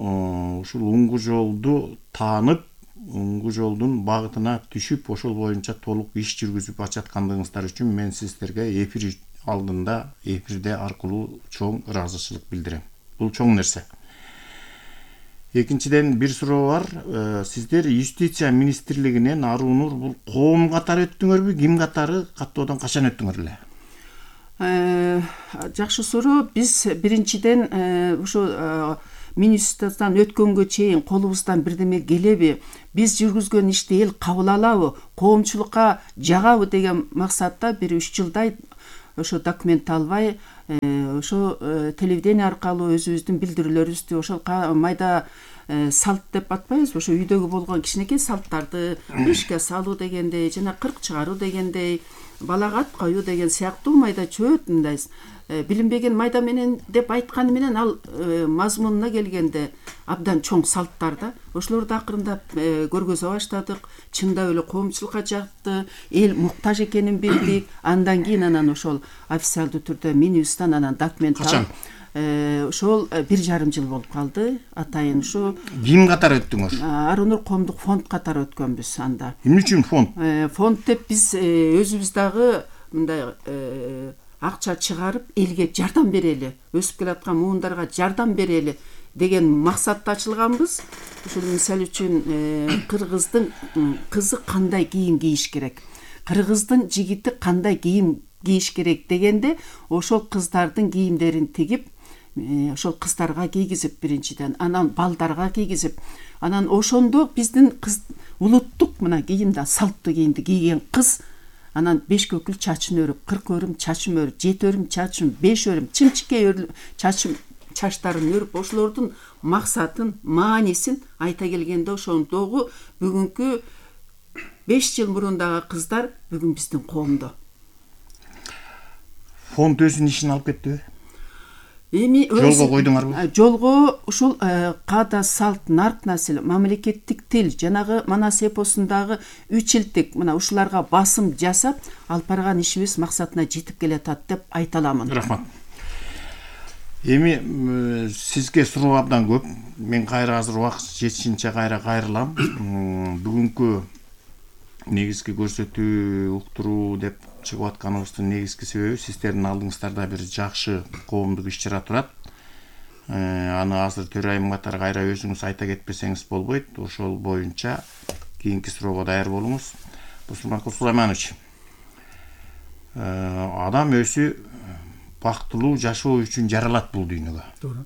[SPEAKER 17] ушул уңгу жолду таанып, уңгу жолдун багытына түшүп, ошол боюнча толук иш жүргүзүп ататкандыгыңыздар үчүн мен сиздерге эфир алдында, эфирде аркылуу чоң ыраазычылык билдирем. Бул чоң нерсе. Экинчиден бир суроо бар. Сиздер юстиция министрлигинен Арунур бул коом катары өттүңөрбү, ким катары, каттоодон качан өттүңөр эле?
[SPEAKER 18] Жакшы суроо. Биз биринчиден ушу министрден өткөнгө чейин колубуздан бирдеме келеби, биз жүргүзгөн ишти эл кабыл алабы, коомчулукка жагабы деген максатта бир үч жылдай ошо документ албай, ошо телевидение аркылуу өзүбүздүн билдирүүлөрүбүздү ошол майда салт деп атпайбызбы, ошо үйдөгү болгон кичинекей салттарды ишке салуу дегендей, жана кырк чыгаруу дегендей, балага ат коюу деген сыяктуу майда чөт мындай билинбеген майда менен деп айтканы менен ал мазмунуна келгенде абдан чоң салттар да. Ошолорду акырындап көргөзө баштадык. Чындап эле коомчулукка жакты, эл муктаж экенин билдик. Андан кийин анан ошол официалдуу түрдө Минюстан анан документ алып, ошол бир жарым жыл болуп калды. Атайын ушу
[SPEAKER 17] ким катары өттүңөр?
[SPEAKER 18] Арунур коомдук фонд катары өткөнбүз анда.
[SPEAKER 17] Эмне үчүн фонд?
[SPEAKER 18] Фонд деп биз өзүбүз дагы мындай акча чыгарып элге жардам берели, өсүп келаткан муундарга жардам берели деген максатта ачылганбыз. Ушул мисалы үчүн кыргыздын кызы кандай кийим кийиш керек, кыргыздын жигити кандай кийим кийиш керек дегенде ошол кыздардын кийимдерин тигип, ошол кыздарга кийгизип биринчиден, анан балдарга кийгизип, анан ошондо биздин кыз улуттук мына кийимди, салттуу кийимди кийген кыз анан беш көкүл чачын өрүп, кырк өрүм чачын өрүп, жети өрүм чачын, беш өрүм чынчыкей чачын чачтарын өрүп, ошолордун максатын, маанисин айта келгенде ошондогу бүгүнкү беш жыл мурундагы кыздар бүгүн биздин коомдо.
[SPEAKER 17] Фонд өзүнүн ишин алып кеттиби?
[SPEAKER 18] Эми
[SPEAKER 17] жолго койдуңарбы?
[SPEAKER 18] Жолго ушул каада, салт, нарк насил, мамлекеттик тил, жанагы Манас эпосундагы үч илдик мына ушуларга басым жасап, алып барган ишибиз максатына жетип келатат деп айта аламын.
[SPEAKER 17] Рахмат. Эми сизге суроо абдан көп. Мен кайра азыр убакыт жетишинче кайра кайрылам. Бүгүнкү негизги көрсөтүү, уктуруу деп чыгып атканыбыздын негизги себеби сиздердин алдыңыздарда бир жакшы коомдук иш-чара турат. Аны азыр төрайым катары кайра өзүңүз айта кетпесеңиз болбойт. Ошол боюнча кийинки суроого даяр болуңуз. Бусурманкул Сулайманович, адам өзү бактылуу жашоо үчүн жаралат бул дүйнөгө.
[SPEAKER 19] Туура.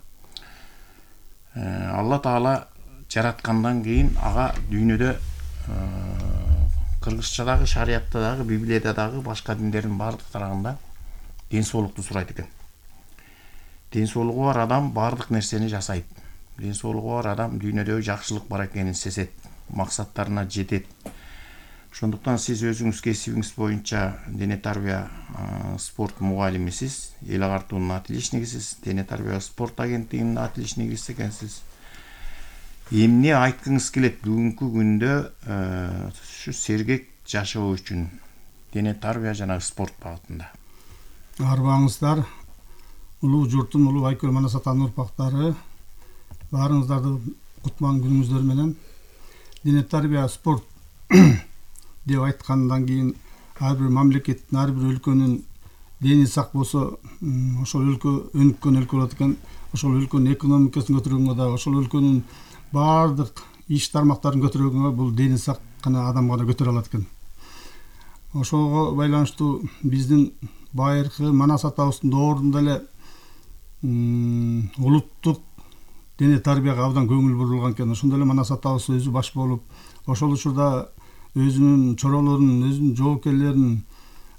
[SPEAKER 17] Алла Таала жараткандан кийин ага дүйнөдө кыргызчадагы, шарияттагы, Библиядагы, башка диндердин бардык тарагында ден соолукту сурайт экен. Ден соолугу бар адам бардык нерсени жасайт. Ден соолугу бар адам дүйнөдө жакшылык бар экенин сезет, максаттарына жетет. Ошондуктан сиз өзүңүз кесибиңиз боюнча дене тарбия спорт мугалимисиз, эл агартуунун отличнигисиз, дене тарбия спорт агенттигинин отличнигиси экенсиз. Эмне айткыңыз келет бүгүнкү күндө ушу сергек жашоо үчүн дене тарбия жана спорт багытында?
[SPEAKER 19] Арбаңыздар, улуу журтум, улуу Айкөл Манас атанын урпактары, баарыңыздарды кутман күнүңүздөр менен. Дене тарбия спорт деп айткандан кийин ар бир мамлекеттин, ар бир өлкөнүн дени сак болсо, ошол өлкө өнүккөн өлкө болот экен. Ошол өлкөнүн экономикасын көтөргөнгө да, ошол өлкөнүн бардык иш тармактарын көтөргөнгө бул дени сак гана адам гана көтөрө алат экен. Ошого байланыштуу биздин байыркы Манас атабыздын доорунда эле улуттук дене тарбияга абдан көңүл бурулган экен. Ошондо эле Манас атабыз өзү баш болуп, ошол учурда өзүнүн чоролорун, өзүнүн жоокерлерин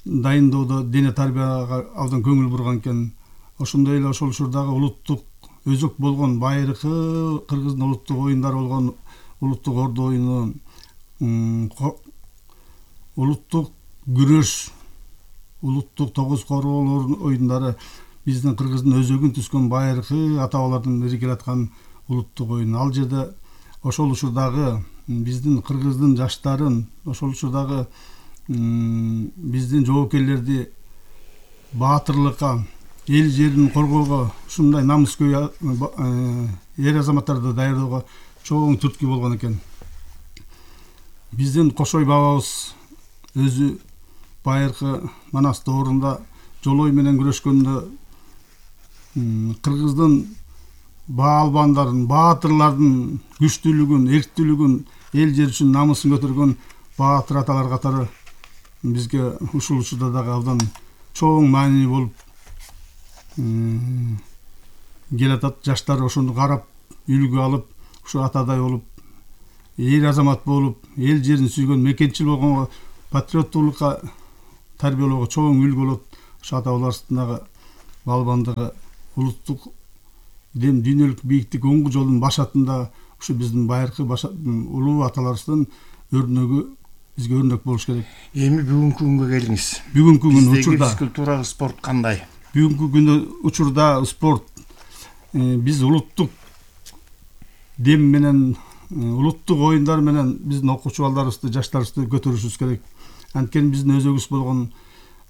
[SPEAKER 19] дайындоодо дене тарбияга абдан көңүл бурган экен. Ошондой эле ошол учурдагы улуттук өзөк болгон байыркы кыргыздын улуттук оюндары болгон улуттук ордо оюну, улуттук күрөш, улуттук тогуз короолор оюндары биздин кыргыздын өзөгүн түскөн байыркы ата бабалардан бери келаткан улуттук оюн. Ал жерде ошол учурдагы биздин кыргыздын жаштарын, ошол учурдагы биздин жоокерлерди баатырлыкка, эл жерин коргоого, ушундай намыскөй эр азаматтарды даярдоого чоң түрткү болгон экен. Биздин Кошой бабабыз өзү байыркы Манас доорунда жолой менен күрөшкөндө кыргыздын баалбандарын, баатырлардын күчтүүлүгүн, эрктүүлүгүн, эл жер үчүн намысын көтөргөн баатыр аталар катары бизге ушул учурда дагы абдан чоң маанилүү болуп келатат. Жаштар ошону карап, үлгү алып, ушу атадай болуп, эр азамат болуп, эл жерин сүйгөн, мекенчил болгонго, патриоттуулукка тарбиялоого чоң үлгү болот. Ушу ата бабаларыбыздын балбандыгы, улуттук дем дүйнөлүк бийиктик оңгу жолдун башатында ушу биздин байыркы улуу аталарыбыздын өрнөгү бизге өрнөк болуш керек.
[SPEAKER 17] Эми бүгүнкү күнгө келиңиз.
[SPEAKER 19] Бүгүнкү күн учурда
[SPEAKER 17] физкультура, спорт кандай?
[SPEAKER 19] Бүгүнкү күндө учурда спорт биз улуттук дем менен, улуттук оюндар менен биздин окуучу балдарыбызды, жаштарыбызды көтөрүшүбүз керек. Анткени биздин өзөгүбүз болгон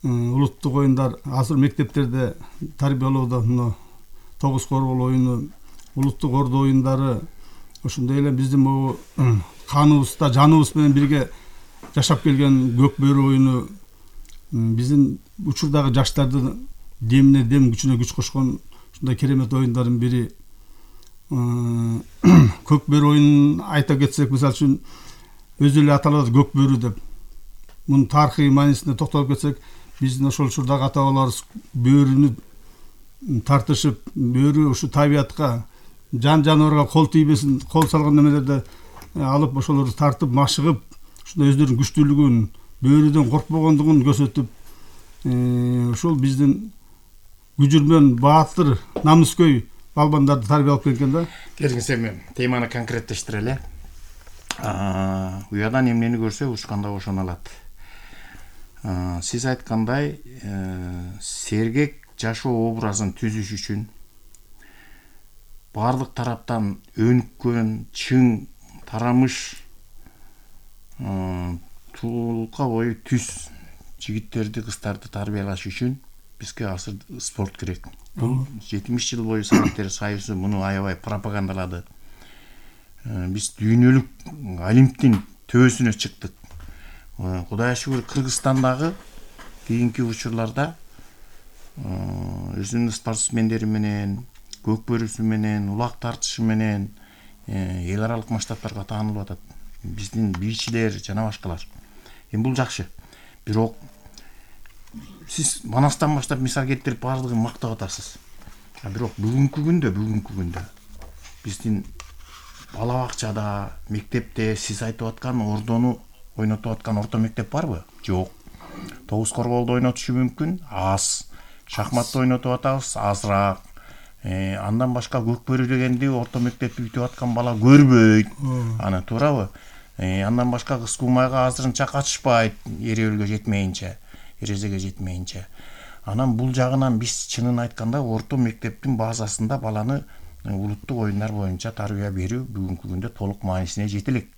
[SPEAKER 19] улуттук оюндар азыр мектептерде тарбиялоодо мына тогуз коргол оюну, улуттук ордо оюндары, ошондой эле биздин могу каныбызда, жаныбыз менен бирге жашап келген көк бөрү оюну биздин учурдагы жаштардын демине дем, күчүнө күч кошкон ушундай керемет оюндардын бири. Көк бөрү оюнун айта кетсек, мисалы үчүн өзү эле аталат көк бөрү деп. Мунун тарыхый маанисине токтолуп кетсек, биздин ошол учурдагы ата бабаларыбыз бөрүнү тартышып, бөрү ушу табиятка, жан жаныбарга кол тийбесин, кол салган немелерди алып, ошолорду тартып, машыгып, ушундай өздөрүнүн күчтүүлүгүн, бөрүдөн коркпогондугун көрсөтүп, ушул биздин күжүрмөн, баатыр, намыскөй балбандарды тарбиялап келген да.
[SPEAKER 17] Келиңиз эми теманы конкреттештирели. Уядан эмнени көрсө учканда ошону алат. Сиз айткандай, сергек жашоо образын түзүш үчүн баардык тараптан өнүккөн, чың, тарамыш, туулукка бою түз жигиттерди, кыздарды тарбиялаш үчүн бизге азыр спорт керек. Бул жетимиш жыл бою Советтер Союзу муну аябай пропагандалады. Биз дүйнөлүк олимптин төбөсүнө чыктык. Кудайга шүгүр, Кыргызстандагы кийинки учурларда өзүнүн спортсмендери менен, көк бөрүсү менен, улак тартышы менен эл аралык масштабтарга таанылып атат. Биздин бийчилер жана башкалар. Эми бул жакшы. Бирок сиз Манастан баштап мисал келтирип баардыгын мактап атасыз. Бирок бүгүнкү күндө, бүгүнкү күндө биздин бала бакчада, мектепте сиз айтып аткан ордону ойнотуп аткан орто мектеп барбы? Жок. Тогуз корголду ойнотушу мүмкүн, аз. Шахматты ойнотуп атабыз, азыраак. Андан башка көк бөрү дегенди орто мектепти бүтүп аткан бала көрбөйт. Аны туурабы? Андан башка кыз кумайга азырынча катышпайт, эребелге жетмейинче, эрезеге жетмейинче. Анан бул жагынан биз чынын айтканда орто мектептин базасында баланы улуттук оюндар боюнча тарбия берүү бүгүнкү күндө толук маанисине жете элек.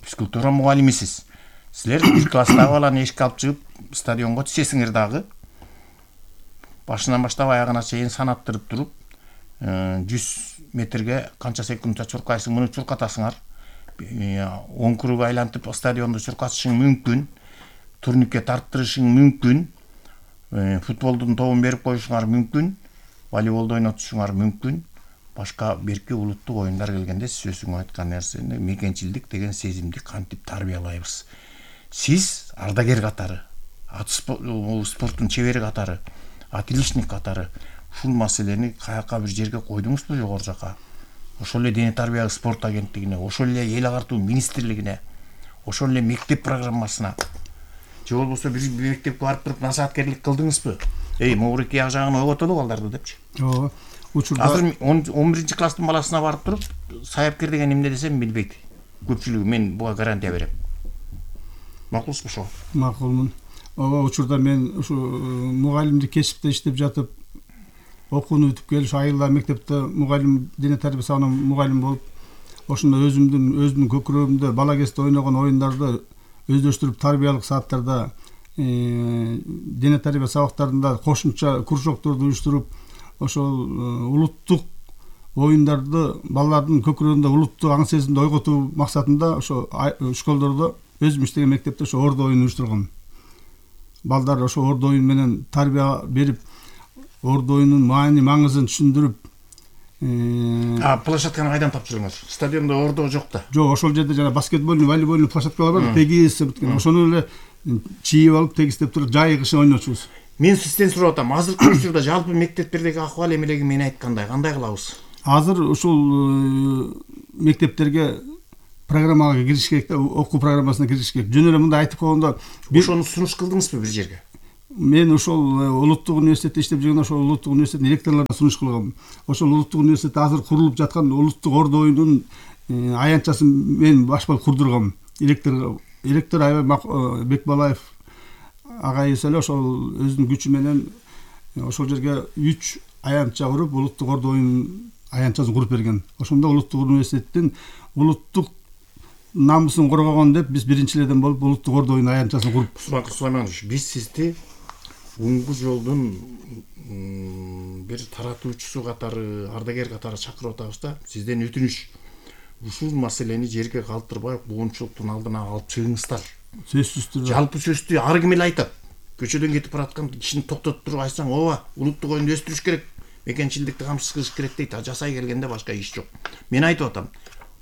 [SPEAKER 17] Физкультура мугалимисиз. Силер бир класстагы баланы эшикке алып чыгып стадионго түшөсүңөр дагы. Башынан баштап аягына чейин санаттырып туруп, жүз метрге канча секундта чуркайсың, муну чуркатасыңар. он круг айлантып стадионду чуркатышың мүмкүн. Турникке тарттырышың мүмкүн. Футболдун тобун берип коюшуңар мүмкүн. Волейболду ойнотушуңар мүмкүн. Башка берки улуттук оюндар келгенде сиз өзүңүз айткан нерсени мекенчилдик деген сезимди кантип тарбиялайбыз. Сиз ардагер катары, ат спорттун чебери катары, атилишник катары ушул маселени каяка бир жерге койдуңузбу, жогору жака? Ошол эле дене тарбия спорт агенттигине, ошол эле эл агартуу министрлигине, ошол эле мектеп программасына, же болбосо бир мектепке барып туруп насааткерлик кылдыңызбы? Эй, могуреки ак жагын ойготолу балдарды депчи.
[SPEAKER 19] Ооба. Учурда
[SPEAKER 17] азыр он биринчи класстын баласына барып туруп, саяпкер деген эмне десем билбейт. Көпчүлүгү мен буга гарантия берем. Макулсузбу ошо?
[SPEAKER 19] Макулмун. Ооба, учурда мен ушу мугалимдик кесипте иштеп жатып, окууну бүтүп келип, айылда мектепте мугалим, дене тарбия сабагынан мугалим болуп, ошондо өзүмдүн өзүмдүн көкүрөгүмдө бала кезде ойногон оюндарды өздөштүрүп тарбиялык сааттарда дене тарбия сабактарында кошумча кружокторду уюштуруп, ошол улуттук оюндарды балдардын көкүрөгүндө улуттук аң сезимди ойготуу максатында ошо школдордо өзүм иштеген мектепте ошо ордо оюн уюштургам. Балдар ошо ордо оюн менен тарбия берип, ордо оюнун маани маңызын түшүндүрүп.
[SPEAKER 17] А площадканы кайдан тапшырдыңыз? Стадиондо ордо жок да.
[SPEAKER 19] Жок, ошол жерде жана баскетбольный, волейбольный площадкалар бар, тегиз бүткөн. Ошону эле чийип алып, тегистеп туруп жайгышы ойночубуз.
[SPEAKER 17] Мен сизден сурап атам, азыркы учурда жалпы мектептердеги акыбал эмелеги мени айткандай, кандай кылабыз?
[SPEAKER 19] Азыр ушул мектептерге программага кириш керек да, окуу программасына кириш керек. Жөн эле мындай айтып койгондо,
[SPEAKER 17] ошону сунуш кылдыңызбы бир жерге?
[SPEAKER 19] Мен ошол улуттук университетте иштеп жүргөндө ошол улуттук университеттин ректорлоруна сунуш кылгам. Ошол улуттук университетте азыр курулуп жаткан улуттук ордо оюнунун аянтчасын мен башпал курдургам. Ректор ректор Айбек Бекбалаев агайыбыз эле ошол өзүнүн күчү менен ошол жерге үч аянтча куруп, улуттук ордо оюн аянтчасын куруп берген. Ошондо улуттук университеттин улуттук намысын коргогон деп биз биринчилерден болуп улуттук ордо оюн аянтчасын куруп.
[SPEAKER 17] Сулайман Сулайманович, биз сизди Уңгу жолдун бир таратуучусу катары, ардагер катары чакырып атабыз да. Сизден өтүнүш. Ушул маселени жерге калтырбай, буунчулуктун алдына алып чыгыңыздар.
[SPEAKER 19] Сөзсүз түрдө.
[SPEAKER 17] Жалпы сөздү ар ким эле айтат. Көчөдөн кетип бараткан кишини токтотуп туруп айтсаң, ооба, улуттук оюнду өстүрүш керек, мекенчилдикти камсыз кылыш керек дейт. А жасай келгенде башка иш жок. Мен айтып атам,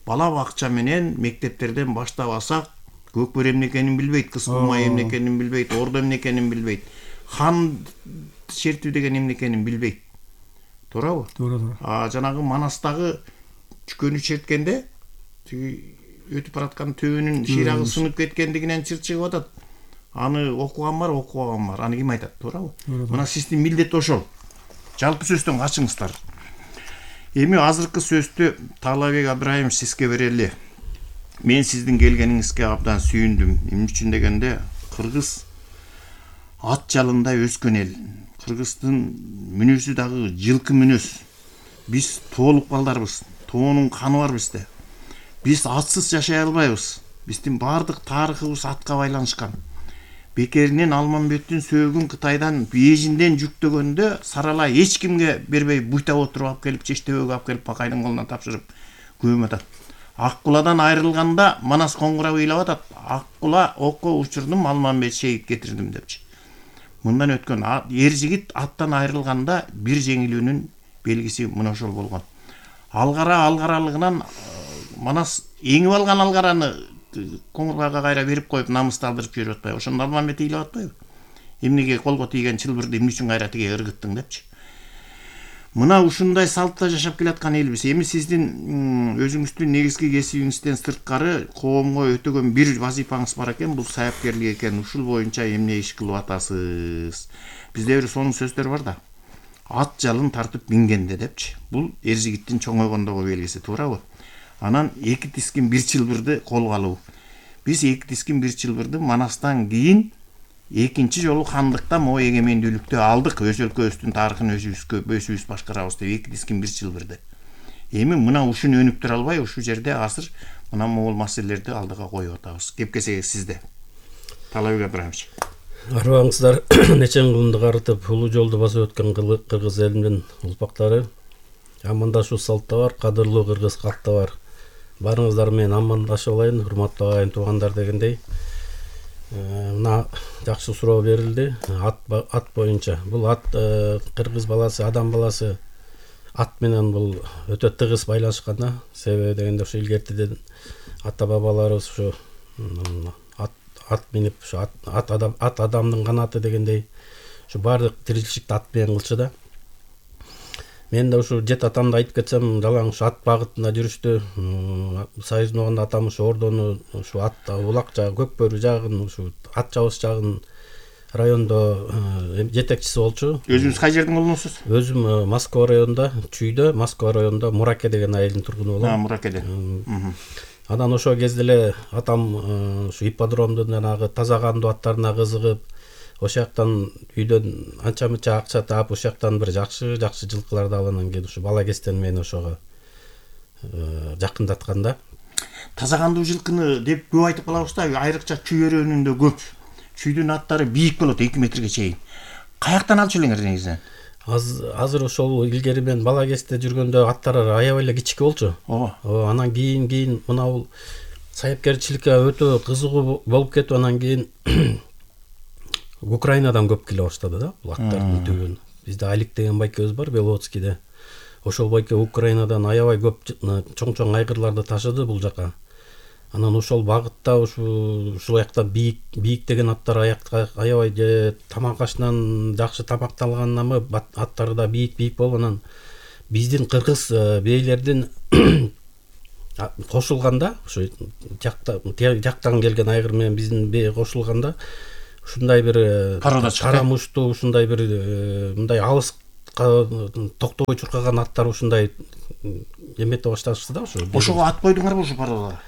[SPEAKER 17] бала бакча менен мектептерден баштап алсак, көкбөр эмне экенин билбейт, кыз кумай эмне экенин билбейт, ордо эмне экенин билбейт. Хан шертүү деген эмне экенин билбейт. Туурабы?
[SPEAKER 19] Туура, туура.
[SPEAKER 17] А жанагы Манастагы чүкөнү черткенде тиги өтүп бараткан төбөнүн шыйрагы сынып кеткендигинен чыр чыгып атат. Аны окуган бар, окубаган бар. Аны ким айтат, туурабы? Мына сиздин милдет ошол. Жалпы сөздөн качыңыздар. Эми азыркы сөздү Таалайбек Абдрайымов сизге берели. Мен сиздин келгениңизге абдан сүйүндүм. Эмне үчүн дегенде, кыргыз ат жалында өскөн эл. Кыргыздын мүнөзү дагы жылкы мүнөз. Биз тоолук балдарбыз. Тоонун каны бар бизде. Биз атсыз жашай албайбыз. Биздин баардык тарыхыбыз атка байланышкан. Бекеринен Алмамбеттин сөөгүн Кытайдан Бейжиңден жүктөгөндө саралай эч кимге бербей буйтап отуруп алып келип Чештебөгө алып келип Бакайдын колуна тапшырып көмүп атат. Аккуладан айрылганда Манас коңгура ыйлап атат. Аккула окко учурдум, Алмамбет шейит кетирдим депчи. Мындан өткөн эр жигит аттан айрылганда бир жеңилүүнүн белгиси мына ошол болгон. Алгара алгаралыгынан Манас эңип алган алгараны коңгургага кайра берип коюп намысты алдырып жүрүп атпайбы? Ошондо Алмамбет ыйлап атпайбы? Эмнеге колго тийген чылбырды эмне үчүн кайра тиге ыргыттың депчи. Мына ушундай салтта жашап келаткан элбиз. Эми сиздин өзүңүздүн негизги кесибиңизден сырткары коомго өтөгөн бир вазифаңыз бар экен, бул саяпкерлик экен. Ушул боюнча эмне иш кылып атасыз? Бизде бир сонун сөздөр бар да. Ат жалын тартып мингенде депчи. Бул эр жигиттин чоңойгондогу белгиси, туурабы? Анан эки тискин бир чылбырды колго алуу. Биз эки тискин бир чылбырды Манастан кийин экинчи жолу хандыкта могу эгемендүүлүктү алдык. Өз өлкөбүздүн тарыхын өзүбүзгө өзүбүз башкарабыз деп эки тискин бир чылбырды. Эми мына ушуну өнүп тура албай, ушул жерде азыр мына могул маселелерди алдыга коюп атабыз. Кепкесеги сизде. Таалайбек Абдрайымович.
[SPEAKER 20] Арбаңыздар нечен кылымды карытып улуу жолду басып өткөн кыргыз элинин улпактары амандашуу салтта бар, кадырлуу кыргыз калкта бар. Барыңыздар менен амандашып алайын, урматтуу агайын туугандар дегендей. Мына жакшы суроо берилди. Ат ат боюнча. Бул ат кыргыз баласы, адам баласы ат менен бул өтө тыгыз байланышкан да. Себеби дегенде ушу илгертиден ата бабаларыбыз ушу ат ат минип, ушу ат адам ат адамдын канаты дегендей ушу баардык тиричиликти ат менен кылчу да. Мен да ушу жет атамды айтып кетсем, далаң ушу ат багытында жүрүштү. Союздун огонда атам ушу ордону, ушу ат улак жагы, көкбөрү жагын, ушу ат чабыш жагын райондо жетекчиси болчу.
[SPEAKER 17] Өзүңүз кай жердин улунусуз?
[SPEAKER 20] Өзүм Москва районунда, Чүйдө, Москва районунда Мураке деген айылдын тургуну болом.
[SPEAKER 17] А, Муракеден.
[SPEAKER 20] Анан ошол кезде эле атам ушу ипподромдун жанагы таза кандуу аттарына кызыгып, ошол жактан үйдөн анча мынча акча таап, ошол жактан бир жакшы жакшы жылкыларды алып, анан кийин ушу бала кезден мени ошого жакындаткан да.
[SPEAKER 17] Таза кандуу жылкыны деп көп айтып калабыз да, айрыкча Чүй өрөөнүндө көп. чүйдүн аттары бийик болот, эки метрге чейин. Каяктан алчу элеңер негизи?
[SPEAKER 20] Азыр ошол илгери мен бала кезде жүргөндө аттар аябай эле кичике болчу. Ооба. Анан кийин кийин мына бул саяпкерчиликке өтө кызыгуу болуп кетип, анан кийин Украинадан көп келе баштады да бул аттардын түбүн. Бизде Алик деген байкебиз бар Белоцкийде. Ошол байке Украинадан аябай көп чоң-чоң айгырларды ташыды бул жака. Анан ошол багытта ушу ушул аякта бийик бийик деген аттар аякта аябай тамак ашынан жакшы тамакталганнамы аттары да бийик-бийик болуп, анан биздин кыргыз бейлердин кошулганда ушу жактан келген айгыр менен биздин бей кошулганда ушундай бир кара муштуу ушундай бир мындай алыс токтобой чуркаган аттар ушундай эмете башташты да ошо.
[SPEAKER 17] Ошого ат койдуңарбы ошо пародага?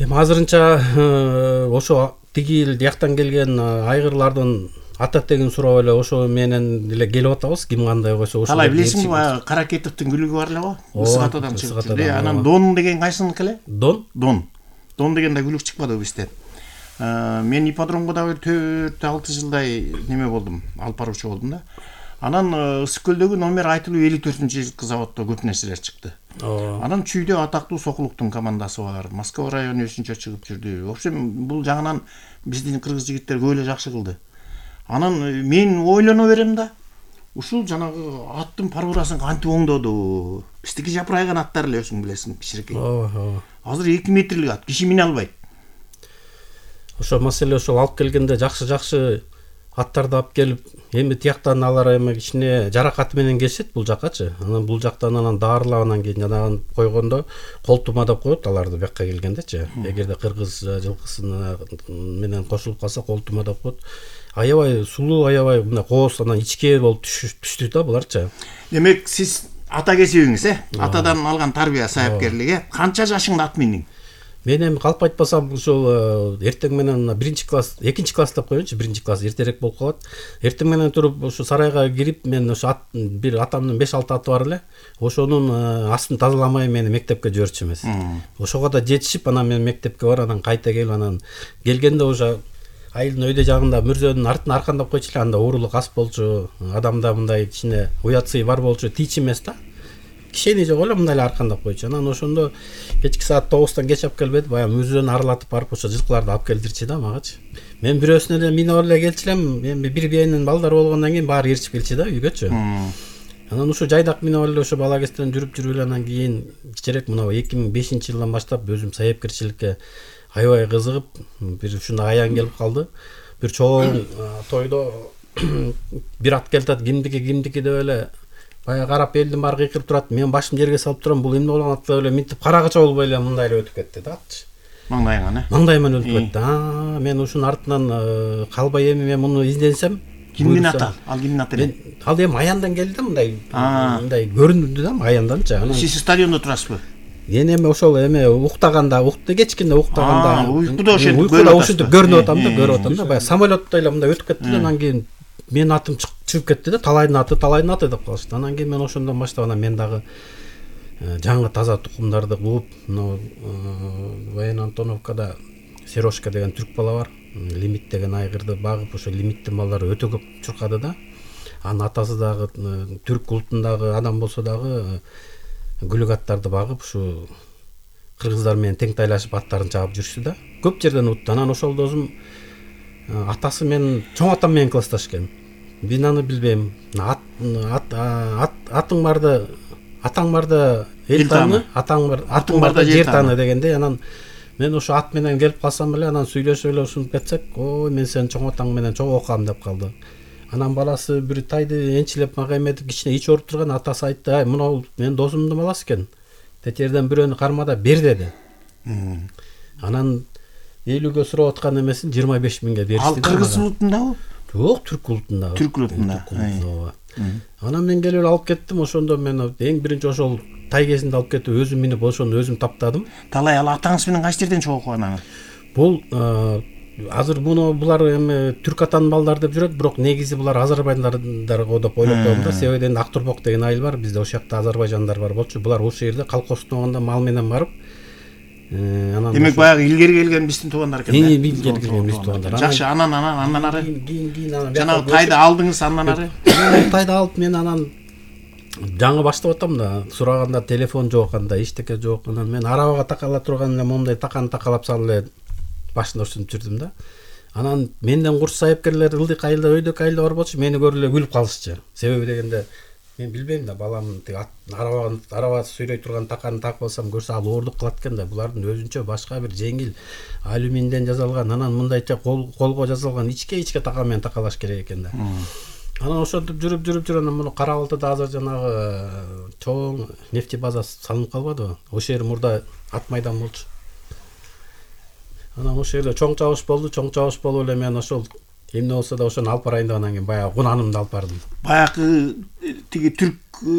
[SPEAKER 20] Эми азырынча ошо тиги жактан келген айгырлардын ата тегин сурап эле ошо менен эле келип атабыз, ким кандай койсо ошо.
[SPEAKER 17] Калай билесиңби, баягы Каракетовдун күлүгү бар эле го? Ысык атадан чыгып жүрдү. Анан Дон деген кайсыныкы эле?
[SPEAKER 20] Дон?
[SPEAKER 17] Дон. Дон деген да күлүк чыкпады бизден. Мен ипподромго дагы төрт алты жылдай неме болдум, алып баруучу болдум да. Анан Ысык көлдөгү номер айтылуу элүү төртүнчү жылкы заводдо көп нерселер чыкты. Анан чүйдө атактуу Сокулуктун командасы бар, Москва району үчүнчү чыгып жүрдү. В общем, бул жагынан биздин кыргыз жигиттер көп эле жакшы кылды. Анан мен ойлоно берем да, ушул жанагы аттын парурасын кантип оңдоду? Биздики жапырайган аттар эле өзүң билесиң, кичирекей.
[SPEAKER 20] Ооба.
[SPEAKER 17] Азыр эки метрлик ат, киши мине албайт.
[SPEAKER 20] Ошо маселе ошол алып келгенде жакшы-жакшы аттарды алып келип, эми тияктан алар эми кичине жаракаты менен келишет бул жакачы. Анан бул жактан анан даарылап анан кийин жанагын койгондо колтума деп коет аларды бияка келгендечи. Эгерде кыргыз жылкысына менен кошулуп калса колтума деп коет. Аябай сулуу, аябай мына кооз анан ичке болуп түштү да буларчы.
[SPEAKER 17] Демек сиз ата кесибиңиз, э? Атадан алган тарбия, саяпкерлик, э? Канча жашыңда ат миндиң?
[SPEAKER 20] Мен эми калп айтпасам ушул эртең менен биринчи класс, экинчи класс деп коеюнчу, биринчи класс эртерээк болуп калат. Эртең менен туруп ушу сарайга кирип, мен ушу ат бир атамдын беш алты аты бар эле. Ошонун астын тазаламай мени мектепке жиберчү эмес. Ошого да жетишип, анан мен мектепке бар, анан кайта келип, анан келгенде уже айылдын өйдө жагында мүрзөнүн артын аркандап койчу эле, анда уурулук аз болчу, адамда мындай кичине уятсый бар болчу, тич эмес да. Кишени жок эле мындай эле аркандап койчу. Анан ошондо кечки саат тогуздан кеч алып келбеди, баягы мүрзөнү аралатып барып ошо жылкыларды алып келдирчи да магачы. Мен бирөөсүнө эле минип эле келчү элем, эми бир биенин балдары болгондон кийин баары ээрчип келчи да үйгөчү. Анан ушу жайдак минип эле ошо бала кезден жүрүп жүрүп эле анан кийин кичерээк мына эки миң бешинчи жылдан баштап өзүм саяпкерчиликке аябай кызыгып, бир ушундай аян келип калды. Бир чоң тойдо бир ат келатат, кимдики кимдики деп эле баягы карап элдин баары кыйкырып турат. Мен башымды жерге салып турам, бул эмне болгон ат деп эле минтип карагача болбой эле мындай эле өтүп кетти да атчы.
[SPEAKER 17] Маңдайыңан, э?
[SPEAKER 20] Маңдайыман өтүп кетти. Аа, мен ушунун артынан калбай эми мен муну изденсем,
[SPEAKER 17] кимдин аты? Ал кимдин аты эле?
[SPEAKER 20] Ал эми аяндан келди да, мындай мындай көрүндү да аянданчы.
[SPEAKER 17] Сиз стадиондо турасызбы?
[SPEAKER 20] Мен эми ошол эме уктаганда, укту кечкинде уктаганда,
[SPEAKER 17] уйкуда ошентип
[SPEAKER 20] уйкуда ушинтип көрүнүп атам да, көрүп атам да. Баягы самолеттой эле мындай өтүп кетти да, анан кийин менин атым чыгып кетти да, талайдын аты, талайдын аты деп калышты. Анан кийин мен ошондон баштап анан мен дагы жаңы таза тукумдарды кууп, мына Воен Антоновкада Сережка деген түрк бала бар. Лимит деген айгырды багып, ошо лимиттин балдары өтө көп чуркады да. Анын атасы дагы түрк улутундагы адам болсо дагы күлүк аттарды багып, ушу кыргыздар менен тең тайлашып аттарын чаап жүрүштү да. Көп жерден утту. Анан ошол досум атасы менен чоң атам менен классташ экен. Мен аны билбейм. Ат атың барда, атаң барда эл тааны, атаң бар, атың барда жер тааны дегенде, анан мен ошо ат менен келип калсам эле, анан сүйлөшүп эле ушинтип кетсек, ой, мен сени чоң атаң менен чогуу окугам деп калды. Анан баласы бир тайды энчилеп мага эметип кичине ич ооруп турган, атасы айтты: "Ай, мына мен досумдун баласы экен. Тетерден бирөөнү кармада бер" деди. Анан элүүгө сурап аткан эмесин жыйырма беш миңге беришти.
[SPEAKER 17] Ал кыргыз улутундабы?
[SPEAKER 20] Жок, түрк улутунда.
[SPEAKER 17] Түрк улутунда.
[SPEAKER 20] Анан мен келип алып кеттим, ошондо мен эң биринчи ошол тай кезинде алып кетип өзүм минип ошону өзүм таптадым.
[SPEAKER 17] Талай ал атаңыз менен кайсы жерден чогуу окуган?
[SPEAKER 20] Бул азыр муну булар эми түрк атанын балдары деп жүрөт, бирок негизи булар азербайжандар го деп ойлоп коем да. Себеби эми Актурбок деген айыл бар, бизде ошол жакта азербайжандар бар болчу. Булар ошол жерде колхоздон мал менен барып,
[SPEAKER 17] Демек баягы илгери келген биздин туугандар экен.
[SPEAKER 20] Илгери келген биздин туугандар.
[SPEAKER 17] Жакшы, анан анан андан ары
[SPEAKER 20] кийин кийин анан
[SPEAKER 17] жанагы тайды алдыңыз, андан ары
[SPEAKER 20] тайды алып мен анан жаңы баштап атам да, сураганда телефон жок, анда эчтеке жок. Анан мен арабага такала турган эле момундай таканы такалап салып эле башында ушинтип жүрдүм да. Анан менден курс сайыпкерлер ылдык айылда өйдөк айылда бар болчу, мени көрүп эле күлүп калышчу. Себеби дегенде мен билбейм да, балам тиги араба араба сүйлөй турган таканы такып алсам көрсө ал оорлук кылат экен да. Булардын өзүнчө башка бир жеңил алюминден жасалган, анан мындайча кол колго жасалган ичке-ичке така менен такалаш керек экен да. Анан ошентип жүрүп жүрүп жүрүп анан муну Кара Балтада азыр жанагы чоң нефти база салынып калбадыбы? Ошол жер мурда ат майдан болчу. Анан ошол жерде чоң чабыш болду, чоң чабыш болуп эле мен ошол эмне болсо да ошону алып барайын деп анан кийин баягы кунанымды алып бардым.
[SPEAKER 17] Баягы тиги түрк